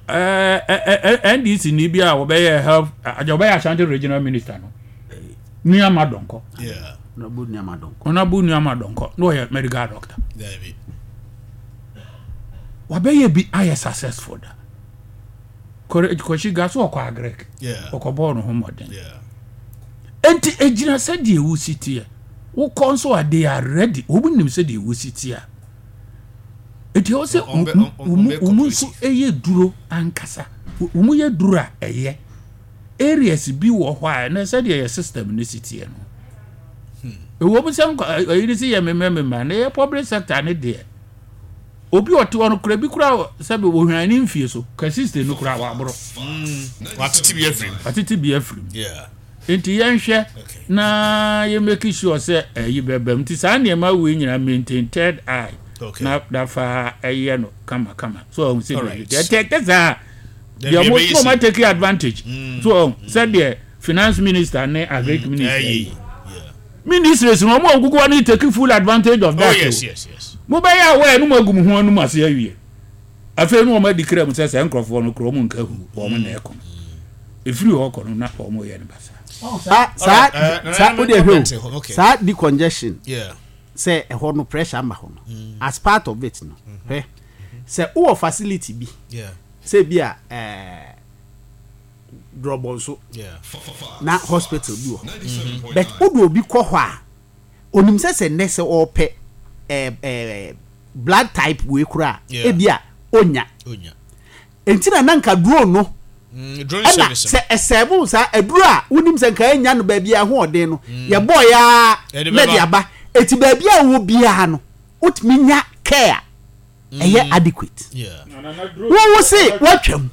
ɛɛ NDC ni bi a wɔbɛyɛ health agya wɔbɛyɛ Ashanti regional minister no. Nuama Donkor. Honourable Nuama Donkor. Honourable Nuama Donkor na ɔyɛ medical doctor. Wabɛyɛ bi ayɛ successful da. Kɔsi ga so ɔkɔ agrek. Ɔkɔbɔɔ ne ho mmɔden. Enti egyina sɛdeɛ wosi teɛ. Wokɔ nso a they are ready. Wɔn nim sɛdeɛ wosi teɛ a. Enti ɛwɔ sɛ wɔn nso yɛ duro ankasa. Wɔn yɛ duro a ɛyɛ. Areas bi wɔ hɔ a ɛnɛ sɛdeɛ yɛ system no si teɛ no. Ɛwɔ mu sɛ ɛyi ne sɛ yɛ mmemmɛ na yɛ public sector ne deɛ. Obi ɔte hɔ no kora bi kora sɛbi wɔhwan ne mfie so ka system no kora waboro. Watete bi afiri mu. Watete bi afiri mu. Nti yɛnhwɛ na yɛ make sure sɛ ɛyi bɛbam. Nti saa nneɛma wei nyinaa maintain third eye. Na dafa ɛyɛ no kama kama. So ɔhun sɛ deɛ ɛtɛ tɛ saa deɛ ɔmo so ɔmo take advantage. So ɔhun sɛ deɛ finance minister ne agric minister yi. Ministries no ɔmo a ɔgugu hɔ no take full advantage of that. Oh yes yes yes. Mo bɛyɛ aware no mo agu mo ho anum ase awie. Afei no wɔn adi kra mu sɛ sɛ nkurɔfoɔ no kura wɔn nka hu wɔn na ɛkɔ no. Efiri hɔ kɔ no na wɔn yɛ no basa. Saa saa saa o de hwɛ o saa decongestion sɛ ɛhɔ no pressure ama hɔ no as part of it no hwɛ sɛ wowɔ facility bi sɛ bi a ɛɛ. Drɔbɔ nso na hospital bi wɔ hɔ but wode obi kɔ hɔ a onim sɛ sɛ nnɛ sɛ ɔpɛ ɛɛ ɛɛ blood type wei koraa ebi a onya nti na nanka drone no mm, ɛna sɛ ɛsɛɛbo saa aduro a wonim sɛ nka enya no baabi a ɛho ɔden no mm. yɛbɔɔ ya na de aba eti baabi a wɔ biara no wotumi nya care ɛyɛ mm. adequate wo wo se woatwam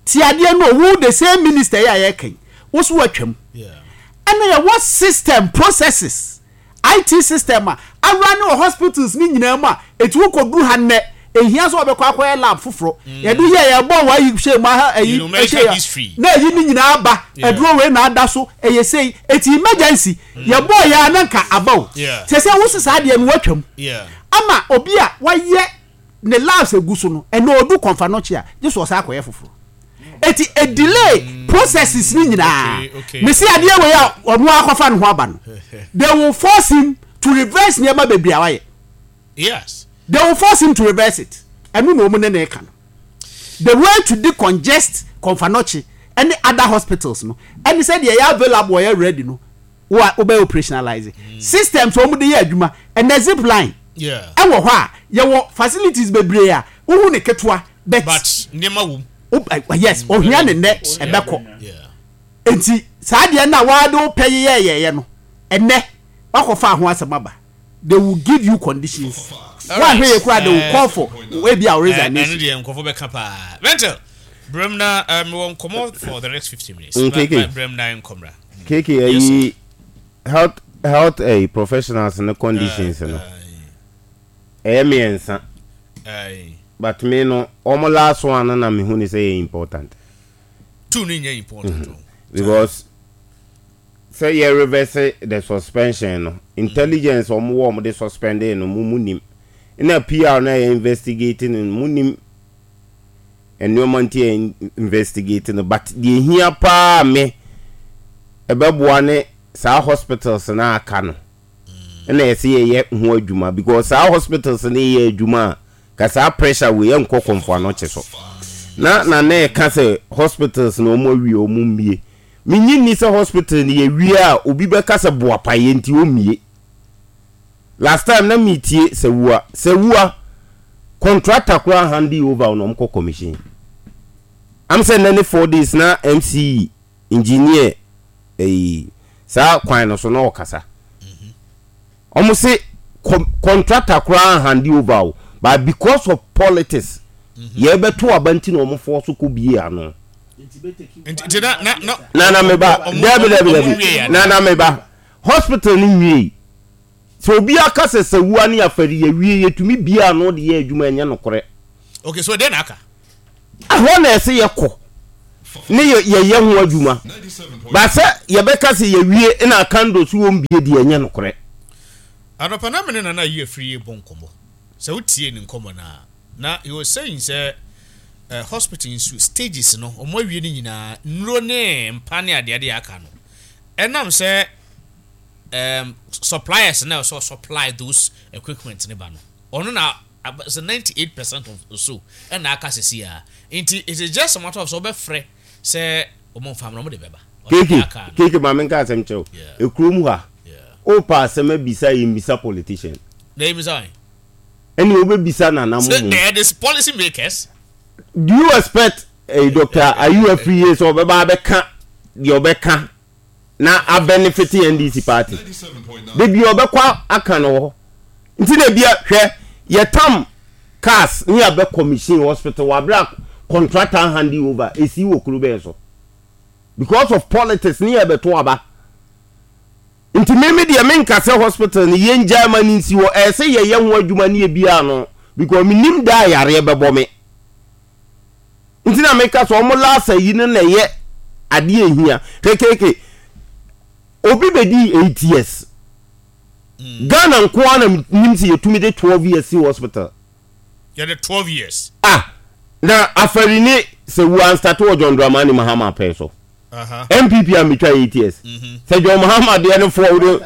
Ti adeɛ no o, wo the same minister yi a yɛreka yi, wo so woatwam. Ɛna yɛwɔ system, processes, IT system a awura ne wɔ hospitals ne nyinaa mu a, ɛti wokɔduru ha nnɛ, ɛhia sɛ wɔbɛkɔ akɔyɛ lab foforɔ. Mm. Yɛde yɛ yɛbɔ wɔ ayi hyɛ mu aha ayi hyɛ ya na ayi ne nyinaa aba, aduro wei na ada so, ɛyɛ sei, ɛti emergency, mm. yɛbɔ yɛ a na nka aba o. Sɛ sɛ wo sesa adeɛ no woatwam. Ama obi a wayɛ ne labs egu so no ɛnɛ odu kɔnfa nɔkye a gye so ɔsan akɔyɛ foforɔ eti e delay processes ni nyinaa mesi adeɛ wei a ɔno akɔfa ne ho aba no they will force him to reverse nneɛma bebree a wayɛ yes they will force him to reverse it ɛno na wɔn ne na ɛka no the way to decongest kɔnfa nɔkye ɛne other hospitals no ɛne sɛ deɛ ɛyɛ available ɛyɛ ready no wo a wobɛyɛ operationalize systems a wɔde yɛ adwuma ɛnɛ zip line ɛwɔ hɔ a yɛwɔ facilities bebree a wohu ne ketewa but but nneɛma wom yes ohia ne nnɛ ɛbɛkɔ nti saa deɛ no a wɔade wopɛ yeyɛyɛyɛ no ɛnɛ wakɔfa ho asɛm aba they will give you conditions woahwɛ yɛ kura they will call for ebi a resignation ɛno deɛ nkɔfo bɛka paa mental brem na mewɔ nkɔmmɔ for the next 15 minutes brem na nkɔmmra KK ayi health health ɛyi professionals no conditions no ɛyɛ mmiɛnsa but me no wɔn last one no na me hu ne sɛ yɛ important. Two no nyɛ important o. Because sɛ yɛ reverse the suspension no intelligence wɔn wɔ wɔn de suspend no mo mu nim na PR na yɛ investigate no mo nim. nnoɔma nti yɛ investigate no but deɛ ɛhia paa me ɛbɛboa ne saa hospitals no aka no ɛna yɛsɛ yɛyɛ ho adwuma because saa hospitals no yɛ adwuma a ka saa pressure wei ɛnkɔ Komfo Anokye so na na na ɛka sɛ hospitals no wɔn awie wɔn mmie menyi nni sɛ hospital no yɛwie a obi bɛka sɛ boapayɛ nti ɔmmie Last time na me tie Sawua Sawua contractor koraa hande over na ɔmo kɔ commission am sɛ nnɛ ne 4 days na MC engineer ɛyi saa kwan no so na ɔkasa ɔmo se contractor koraa hande over o but because of politics. Yɛbɛto aba nti na wɔn fɔɔ so kɔ bie ano. Nti na na na. Nana me ba, dabi dabi dabi. Nana me ba, hospital no nwiei. Sɛ obi aka sɛ sawua ne afari yɛwie yɛtumi bie ano de yɛ adwuma ɛnyɛ nokorɛ. Okay, so deɛ na aka? Ɛhɔ na ɛsɛ yɛkɔ ne yɛyɛ ho adwuma. Ba sɛ yɛbɛka sɛ yɛwie na akando so wɔn bie deɛ ɛnyɛ nokorɛ. Anɔpa na me ne Nana Ayi Afriyie rebɔ nkɔmmɔ. Sɛ wotiee ne nkɔmmɔ no a, na he was saying sɛ eh, hospital nso stages no, wɔn awie no nyinaa, nnuro ne mpa ne adeade a aka no, ɛnam sɛ um, suppliers na ɛsɛ supply those equipment ne ba no, ɔno na sɛ 98 percent of so ɛna aka sisi a, nti it is just a matter of sɛ wɔbɛfrɛ sɛ wɔn mfa mmerɛ wɔn de bɛba. Keke, keke ma menka asɛm kyerɛ wo. Ekurom ha, wopɛ asɛm abisa yɛmmisa politician. Na yɛmmisa wɔn. Ɛne wobɛbisa nana mo mu. They are the policy makers. Do you expect eh, Dr. Ayu Afriye sɛ ɔbɛba abɛka deɛ ɔbɛka na abɛnefete NDC party? Da bi ɔbɛkɔ aka no hɔ. Nti na bia hwɛ yɛtam cars ne yɛabɛ commission hospital wɔ abere a contractor hand over esi wɔ kuro bɛn so because of politics ne yɛbɛto aba. Nti me me deɛ menka sɛ hospital no yɛngyae ma no nsi hɔ ɛyɛ sɛ yɛyɛ ho adwuma ne yɛbia ano because menim da a yareɛ bɛbɔ me nti na meka sɛ ɔmo last ayi no na ɛyɛ adeɛ ehia kekeke obi bɛdii 8 years Ghana nko ara na nim sɛ yɛtumi de 12 years si hospital. Yɛde 12 years. Ah, na afari ne sɛ wu anstate wɔ John Dramani Mahama pɛn so. NPP a metwa 8 years. Sɛ John Mahama deɛ no foɔ wode.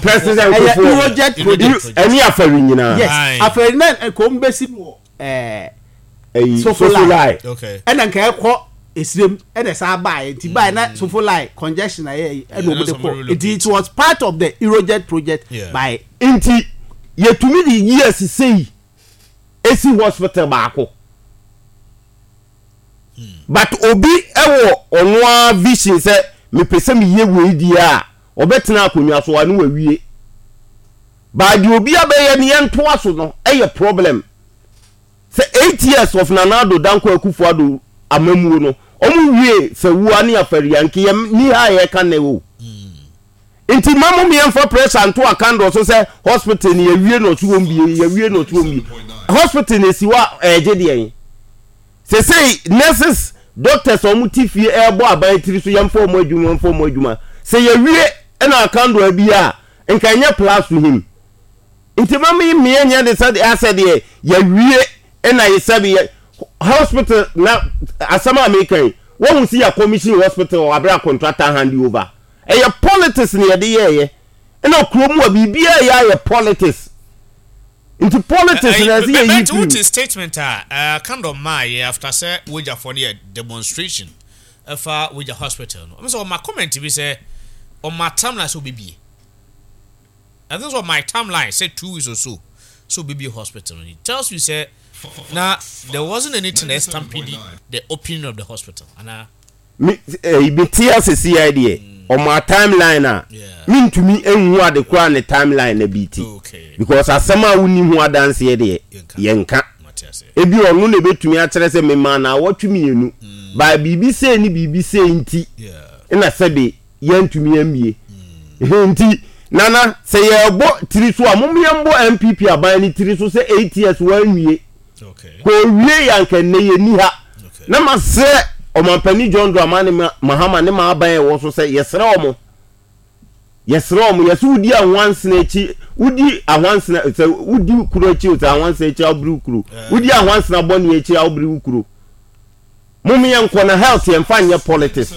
President Kufuor. Ɛne afari nyinaa. Yes, afari na kɔm bɛsi wɔ. ɛɛ sofolai ɛna nka ɛkɔ esirem ɛna ɛsan baeɛ nti baeɛ na sofolai congestion ayɛ ɛna wɔn de kɔ nti it was part of the Eurojet project by. Nti yɛtumi de years sei esi hospital baako but obi ɛwɔ ɔno ara vision sɛ mepɛ sɛ meyɛ wei deɛ a ɔbɛtena akonnwa so a ne wawie. But deɛ obi abɛyɛ no yɛntoa so no yɛ problem. Sɛ 8 years of Nana Addo Dankwa Akufo Addo amammuo no, wɔn wie Sawua ne Afari a, nka yɛn ni ha a yɛreka nnɛ o. Nti mma mo yɛmfa pressure nto Akandor so sɛ hospital no yɛawie na ɔso wɔn bie, yɛawie na ɔso wɔn bie. Hospital no esi hɔ a ɛregye deɛn? Sesei nurses, doctors a wɔn te fie ɛrebɔ aban tiri so yɛmfa wɔn adwuma, yɛmfa wɔn adwuma. Sɛ yɛwie na Akandor abie a, nka ɛnyɛ plus to him nti ma me mmea nyɛ de sɛ asɛ deɛ yɛwie ɛna yɛ sɛbi yɛ hospital na asɛm a meka yi wɔn si yɛ commission hospital wɔ abira contractor hand over ɛyɛ politics na yɛde yɛɛyɛ ɛna kurom a biribiara yɛ ayɛ politics nti politics na ɛsɛ yɛ yi fi. Wote statement a Kandor maa yɛ after sɛ wogyafoɔ no yɛ demonstration ɛfa wogya hospital no ɔmo sɛ ɔma comment bi sɛ ɔma timeline sɛ ɔbɛbie. I think so my timeline say 2 weeks or so so baby hospital it tells you say na there wasn't anything that stampede the opening of the hospital ana me eh, me te ase si ya deɛ ɔma timeline a mentumi nhu ade koraa ne timeline na bi ti because asɛm a wonni ho adanseɛ deɛ yɛnka ebi ɔno na ebetumi akyerɛ sɛ memaa na awɔtwe mmienu mm. by biribi sei ne biribi sei nti na sɛbe yɛntumi ammie. Nti Nana, sɛ yɛrebɔ tiri so a, mom yɛmbɔ NPP aban no tiri so sɛ 8 years wɔanwie. Kɔ owie yɛ anka nnɛ yɛnni ha. Na masrɛ Ɔmampanin John Dramani Mahama ne m'aban a ɛwɔ so sɛ yɛsrɛ wɔn. Yɛsrɛ wɔn, yɛsɛ wodi ahwansena akyi, wodi ahwansena, sɛ wodi kuro akyi o, sɛ ahwansena akyi a wobere wo kuro. Wodi ahwansena bɔne akyi a wobere wo kuro. Mom yɛnkɔ na health yɛmfa nyɛ politics.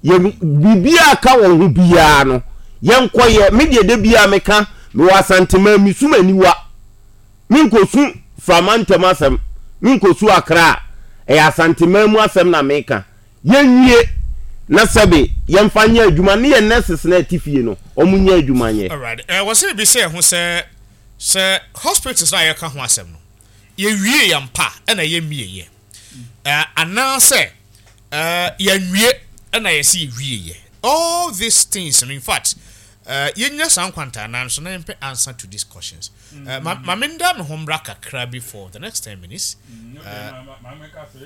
Yɛ biribiara a ka wɔn ho biara no, yɛnkɔyɛ. Me deɛ da biara meka, mewɔ Asanteman, mesu m'aniwa. Menkɔsu Frama ntam asɛm, menkɔsu Accra, ɛyɛ Asanteman mu asɛm na meka. Yɛnwie na sɛbe yɛmfa nyɛ adwuma ne yɛn nurses no a ɛte fie no, wɔn nyɛ adwuma nyɛ. Alright, eh, wɔsɛ yɛbisa yɛn ho sɛ, sɛ hospitals no a yɛka ho asɛm no, yɛwie yɛn mpa ɛna yɛmmieɛ, eh, anaasɛ Eh, yɛnwie ɛna yɛsi yɛwie yɛ. All these things no, in fact, Eh, yɛnnya saa nkwantanan no so na yɛmpɛ answer to these questions. Eh, ma, ma menda me ho mmra kakra bi for the next 10 minutes. Eh,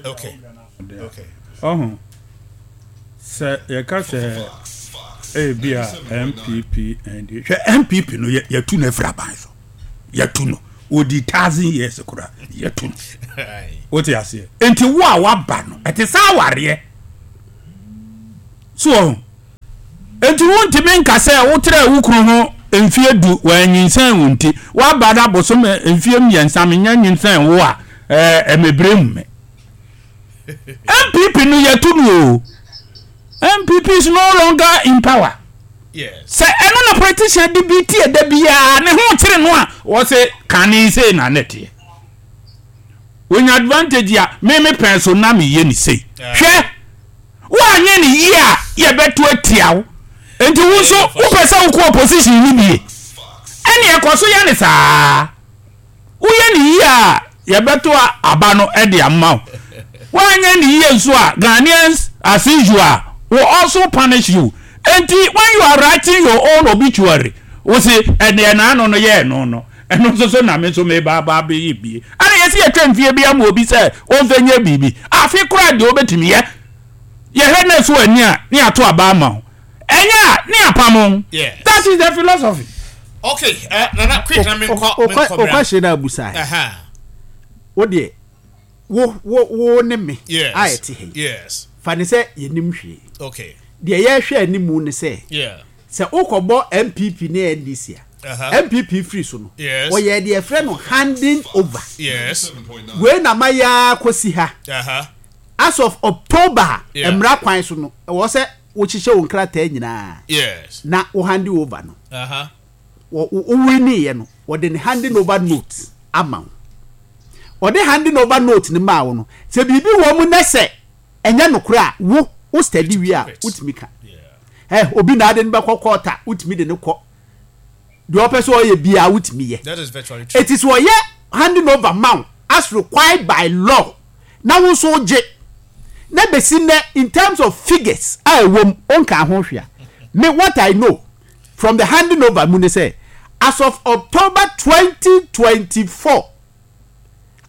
okay. Okay. Ɔho, sɛ yɛka sɛ ebi a NPP ND, hwɛ NPP no yɛtu no afiri aban so. Yɛtu no. Ɔdi thousand years koraa, yɛtu no. Wote aseɛ? Nti wo a waba no, ɛte sɛ awareɛ. So ɔho, Enti wuntumi nka sɛ wotraa wo kunu ho mfeɛ du, wanyinsɛn wo nti, woaba no abosome mfeɛ mmiɛnsa mennya nyinsɛn wo a, ɛɛ mebere mu me. NPP no yɛto no o. NPP is no longer in power. Sɛ ɛno na politician de bi tie da biara ne ho kyere no a, wɔse kane sei na ne teɛ. Wonya advantage a, me me pɛn so na meyɛ ne sei. Hwɛ! Woanyɛ no yie a yɛbɛto atia wo. Nti wo nso wopɛ sɛ wokɔ opposition no bie? Ɛneɛ kɔ so yɛ no saa. Woyɛ no yie a yɛbɛto aba no de ama wo. Woanyɛ no yie nso a Ghanaians as usual will also punish you. Nti when you are writing your own obituary wo se ɛneɛ n'ano no yɛɛ no no ɛno nso so na me nso meba aba abɛyɛ bie. Ɛna yɛsi yɛtwa mfie bi ama obi sɛ ɔmfa nyɛ biribi. Afe koraa deɛ wobɛtumi yɛ. Yɛhwɛ na ɛso ani a ne yɛato aba ama wo. Ɛnyɛ a ne yɛapam wo. Yes. That is the philosophy. Okay, uh, Nana, quick na menkɔ menkɔ bra. Okwa na abusa. Aha. Wo deɛ wo wo wo ne me yes. a ɛte ha yi. Yes. Fa ne sɛ yɛnim hwee. Okay. Deɛ yɛhwɛ animu ne sɛ. Yeah. Sɛ wokɔbɔ NPP ne NDC a, NPP firi so no, wɔyɛɛ deɛ yɛfrɛ no handing over. Wei na mayɛ ara kɔsi ha. As of October a, mmara kwan so no, ɛwɔ sɛ wohyehyɛ wo nkrataa nyinaa na wo hande over no. Wo winiiɛ no, wɔde ne handing over note ama wo. Wɔde handing over note no maa wo no, sɛ biribi wɔ mu na sɛ ɛnyɛ nokorɛ a, wo wo study wie a, wotumi ka. Ɛ obi na ade no bɛkɔ court a, wotumi de no kɔ. Deɛ ɔpɛ sɛ ɔyɛ biara wotumi yɛ. Eti sɛ ɔyɛ handing over ma wo as required by law na wo nso wogye na besi nnɛ in terms of figures a ɛwɔ mu wonkaa ho hwee a, me what I know from the handing over mu ne sɛ as of October 2024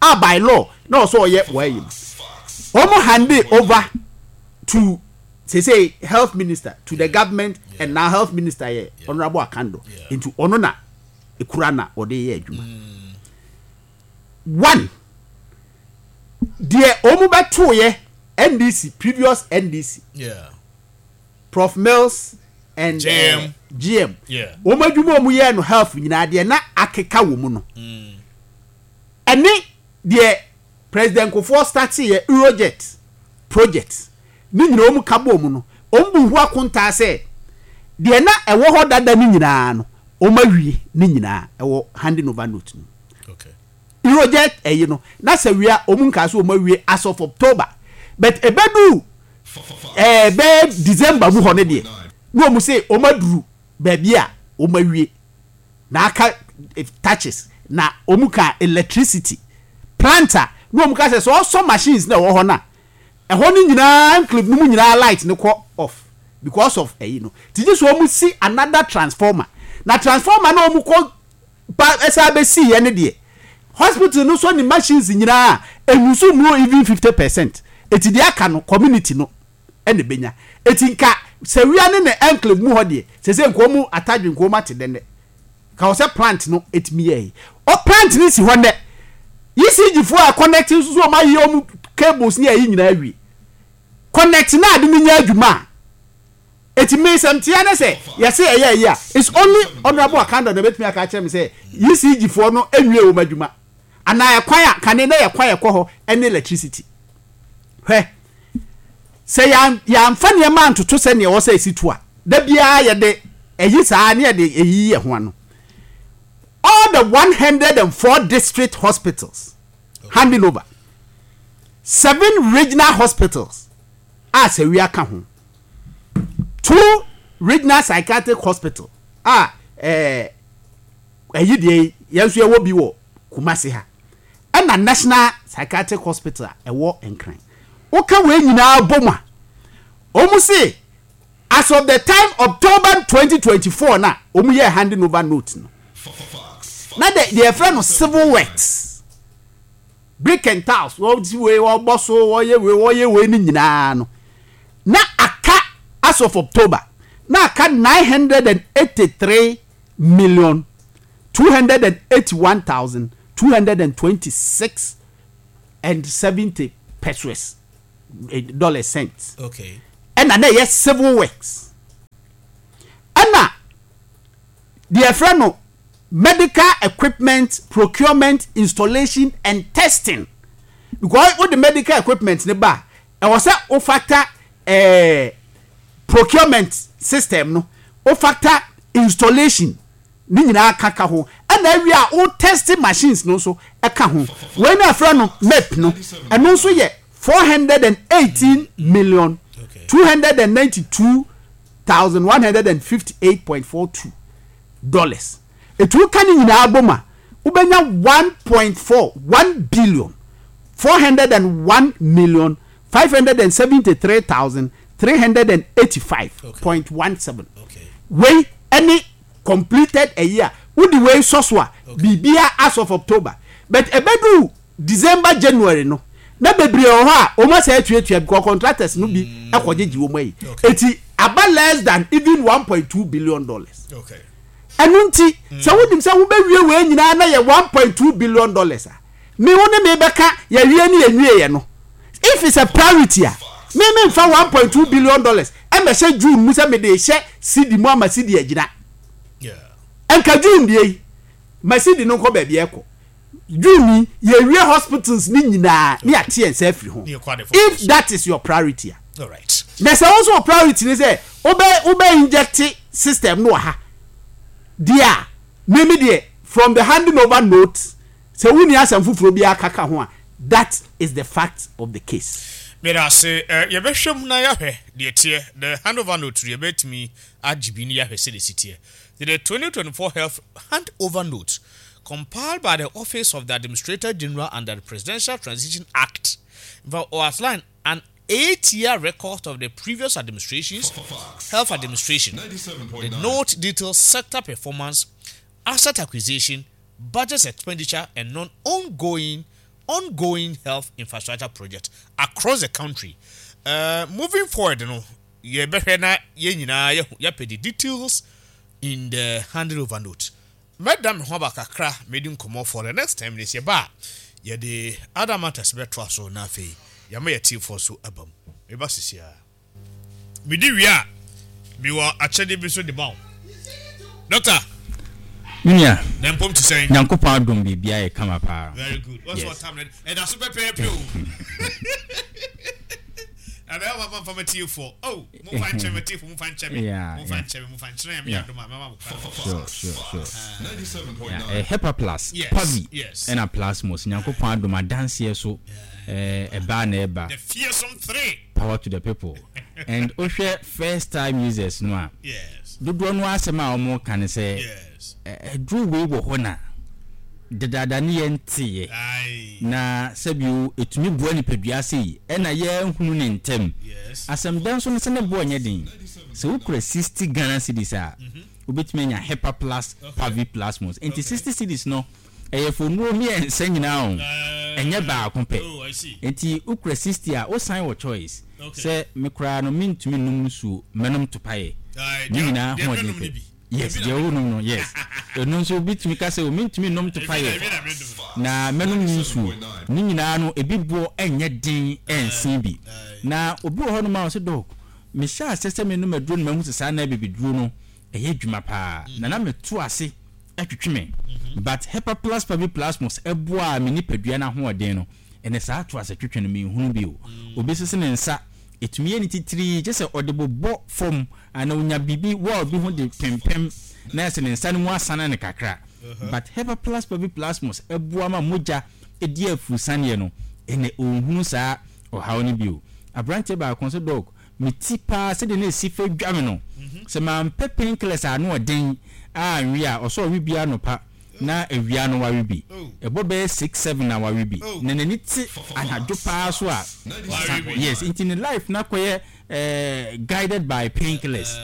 a by law na ɔsɛ ɔyɛ wɔayi no, wɔn hande over to Seesei health minister to the government and now health minister yɛ Honourable Akando nti ɔno na ekura na ɔde yɛ adwuma. Mm. One, deɛ wɔn bɛtoeɛ NDC previous NDC yeah. Prof Mills and GM, uh, GM. Yeah. Wɔn adwuma wɔn yɛ no health nyinaa deɛ na akeka wɔ mu no mm. ɛne deɛ President Kufuor startee yɛ Eurojet project no nyinaa wɔn ka bɔɔ mu no, wɔn bu ho akontaa sɛ deɛ na ɛwɔ hɔ dada no nyinaa no wɔn awie ne nyinaa ɛwɔ handing over note no mu. Eurojet ɛyi no na sɛ wie a wɔn nkaa sɛ wɔn awie as of October but ɛbɛduru ɛɛ bɛyɛ December mu hɔ no deɛ na wɔn se wɔn aduru baabi a wɔn awie. na aka touches na wɔn ka electricity plant a na wɔn ka sɛ sɛ ɔsɔ machines na ɛwɔ hɔ no a ɛhɔ no nyinaa enclave no mu nyinaa light no kɔ off because of ɛyi no ti gye so wɔn si another transformer na transformer na wɔn kɔ ba ɛsɛ abɛsi yɛ ne deɛ hospital no sɔ ne machines nyinaa enyusu mu even 50% eti deɛ aka no community no na ebenya. Eti nka Sawia ne ne enclave mu hɔ deɛ, sese nka wɔn atadwe nka wɔn ate dɛ nnɛ. Nka wɔ sɛ plant no etumi yɛ yi. O plant no si hɔ nnɛ. ECG foɔ a connect nso so wɔn ayɛ wɔn cables ne ayi nyinaa awie. Connect na ade no nyɛ adwuma a. Eti me nsɛm tea ne sɛ yɛse ɛyɛ ayi a, it's only Honourable Akandor na ebetumi aka akyerɛ me sɛ ECG foɔ no nwie wɔn adwuma. Anaa ɛkwan a kane na yɛ kwan ɛkɔ hɔ ɛne electricity. Hwɛ, sɛ yɛamfa nneɛma antoto sɛnea ɛwɔ sɛ esi to a, da biara yɛde ɛyi saa ne yɛde eyiyi yɛn ho ano. All the 104 district hospitals handing over, seven regional hospitals a Sawia ka ho, two regional psychiatric hospital a ɛɛ ɛyi deɛ yɛn nso yɛwɔ bi wɔ Kumasi ha. Ɛna National Psychiatric Hospital a ɛwɔ Nkran. Woka wei nyinaa bom a, wɔn se As of the time October 2024 na wɔn yɛ handing over note no, na de deɛ yɛfrɛ no civil works, brick and tiles, wɔsi wei wɔbɔ so wɔyɛ wei wɔyɛ wei ne nyinaa no, na aka as of October na aka 983 million 281,226 and 70 pesos eh, dollars cents. Okay. Ɛna na ɛyɛ civil works. Ɛna deɛ ɛfrɛ no medical equipment procurement installation and testing because wo de medical equipment ne ba ɛwɔ sɛ wo factor eh, procurement system no wo factor installation ne nyinaa ka ka ho ɛna awie a wo test machines no nso ɛka ho wei na ɛfrɛ no map no ɛno nso yɛ 418 million 292,158.42 dollars etu ka ne nyinaa bom a wobɛnya 1.4 1 billion 401 million 573,385.17 wei ɛne completed a year wode wei sɔ so a biribia as of October but ɛbɛdu December January no na bebree wɔ hɔ a wɔn asɛ atuatua because contractors no bi ɛkɔgyegye wɔn ayi eti aba less than even 1.2 billion dollars ɛno nti sɛ wonim sɛ wobɛwie wei nyinaa na yɛ 1.2 billion dollars a me wo ne me bɛka yɛwie ne yɛnwie yɛ no if it's a priority a me me nfa 1.2 billion dollars ɛmɛhyɛ June mu sɛ mede hyɛ cedi mu ama cedi agyina nka June deɛ yi ma cedi no nkɔ baabi ɛkɔ June yi yɛwie hospitals ne nyinaa ne yɛate yɛn nsa afiri ho if that is your priority a na sɛ wo nso wɔ priority ne sɛ wobɛ wobɛ inject system no wɔ ha deɛ a mimi deɛ from the handing over note sɛ wonni asɛm foforɔ biara kaka ho a that is the fact of the case. Meda ase. Eh, yɛbɛhwɛ mu na yɛahwɛ deɛ ɛteɛ. The handover note no, yɛbɛtumi agye bi na yɛahwɛ sɛdeɛ ɛsi teɛ. The 2024 Health Handover Note, compiled by the Office of the Administrator General under the Presidential Transition Act, in fact, outline an eight-year record of the previous administration's health administration. The note details sector performance, asset acquisition, budget expenditure, and non-ongoing ongoing health infrastructure project across the country. Moving forward no, yɛbɛhwɛ na yɛn nyinaa yɛahu yɛapɛ the details in the handing over note. Mɛda me ho aba kakra medi nkɔmmɔ for the next 10 minutes yɛba a yɛde other matters bɛtoa so na afei yɛama yɛtiefoɔ nso aba mu. Meba sisi ara. Medi wie a, mewɔ akyɛdeɛ bi nso de ma wo. Doctor. Me nua. Na mpom te sɛn? Nyankopɔn adom biribiara yɛ kama paa. Very good. What's what time? Ɛda so pɛpɛɛpɛ o. Na bɛyɛ wɔn afa matiefoɔ. Oh, mo fa nkyɛn matiefo, mo fa nkyɛn me. Mo fa nkyɛn me, mo fa nkyɛn me adom a mɛma mo kwan. Sure, sure, sure. Yeah, Hepa Plus, Pavi, ɛna Plasmos. Nyankopɔn adom adanseɛ so ɛbaa na ɛba. The fearsome three. Power to the people and wohwɛ first time users no a dodoɔ no asɛm a wɔn ka ne sɛ aduro wei wɔ hɔ na dedaada ne yɛn teeɛ na sɛbio ɛtumi boa nipadua sei ɛna yɛnhunu ne ntɛm asɛm da nso no sɛ ne boɔ nyɛ den sɛ wokura 60 Ghana cedis a wobɛtumi anya Hepa Plus Pavi Plasmos nti 60 cedis no Ɛyɛ for nnuro mmiɛnsa nyinaa o, ɛnyɛ baako pɛ. Nti wo kura 60 a, wo san wɔ choice sɛ me koraa no mentumi nnom nsuo, mɛnom topaeɛ. Ne nyinaa ahoɔden pɛ. Yes, deɛ wo nom no, yes. Ɛno nso obi tumi ka sɛ o mentumi nnom topaeɛ na mɛnom ne nsuo. Ne nyinaa no ebi boɔ ɛnyɛ den ɛnsen bi. Na obi wɔ hɔnom a ɔse doc, mehyɛ aseɛ sɛ menom aduro no mahu sɛ saa na abibiduro no ɛyɛ adwuma paa na na meto ase twetwe me but Hepa-Plus Paviplasmos boaa me nipadua no ahoɔden no ɛnɛ saa to ase twetwe no menhunu bio. Obi sese ne nsa ɛtumi yɛ ne titirii kyɛ sɛ ɔde bobɔ fam anaa ɔnya biribi wall bi ho de pempem na ɛsɛ ne nsa no mu asane no kakra but Hepa-Plus Paviplasmos boa ma mogya di afurusaneɛ no ɛnɛ ɔnhunu saa ɔhaw no bio. Aberanteɛ baako nso dɔk Me ti paa sɛdeɛ na ɛsi fa dwa me no, sɛ mampɛ painkillers a ano ɔden anwe a, ɔsɛ ɔwe bi anɔpa na awia no wawe bi. Ɛbɔ bɛyɛ six, seven na wawe bi. Na n'ani te anadwo paa so a, wasa. Yes, nti ne life no akɔyɛ. eh, guided by painkillers.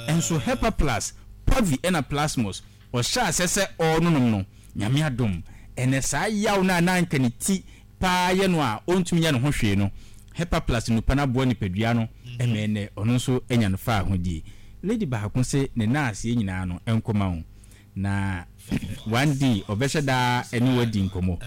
Nso Hepa Plus, Pavi ɛna Plasmos, ɔhyɛ aseɛ sɛ ɔrenonom no, Nyame adom, ɛnɛ saa yaw no a na anka ne ti paa yɛ no a ɔntumi nyɛ ne ho hwee no, Hepa Plus nnupa no aboa nipadua no ma ɛnnɛ ɔno nso anya no faahodie. Lady baako se ne naaseɛ nyinaa no nkɔma wo na one day ɔbɛhyɛ da ne wo adi nkɔmmɔ.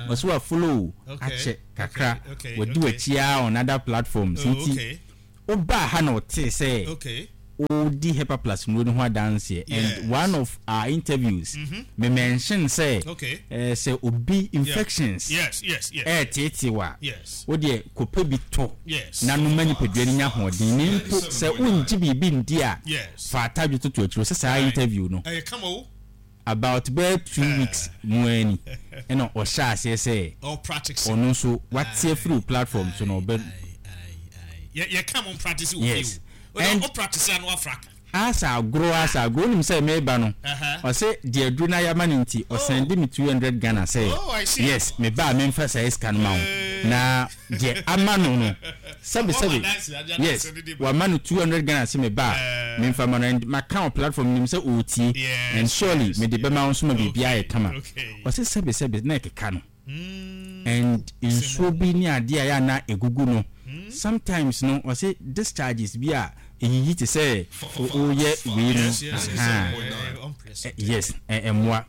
Ɔse wa follow wo akyɛ kakra, wadi w'akyi ara on other platforms nti Wobaa ha na ɔtee sɛ wodi Hepa Plus nnuro no ho adanseɛ and one of our interviews me mention sɛ sɛ obi infections ɛɛteetee wo a wodeɛ kɔpɛ bi tɔ na nom ma nipadua no nya ahoɔden na mpo sɛ wongye biribi ndi a fa atadwe toto akyire sɛ saa interview no About bɛyɛ 2 weeks mu ara ni ɛna ɔhyɛ aseɛ sɛ ɔno nso wate afiri wo platform so na ɔbɛ. Yes and asa agorɔ asa agorɔ wonim sɛ meba no ɔse deɛ aduro no ayɛ ama no nti ɔsɛnde me 200 Ghana sɛ yes meba a memfa saa sika no ma wo na deɛ ama no no Sɛbi sɛbi yes wama no 200 Ghana se me ba a memfa ma no and maka wɔ platform nim sɛ ɔretie and surely mede bɛma wo nso ma biribiara ayɛ kama ɔse sɛbi sɛbi na ɛkeka no and nsuo bi ne adeɛ a yɛ a na ɛgugu no sometimes no ɔse discharges bi a ɛyiyi te sɛ woyɛ wei no ahaa yes ɛmmoa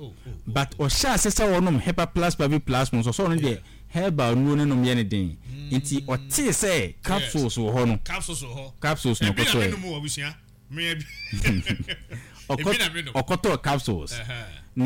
but ɔhyɛ ase sɛ ɔnom hepa plus pavi plus mu nso ɔsɛ ɔno deɛ Herbal nnuro no nom yɛ no den nti ɔtee sɛ capsules wɔ hɔ no capsules na ɔkɔtɔɛ ɔkɔtɔɔ capsules na.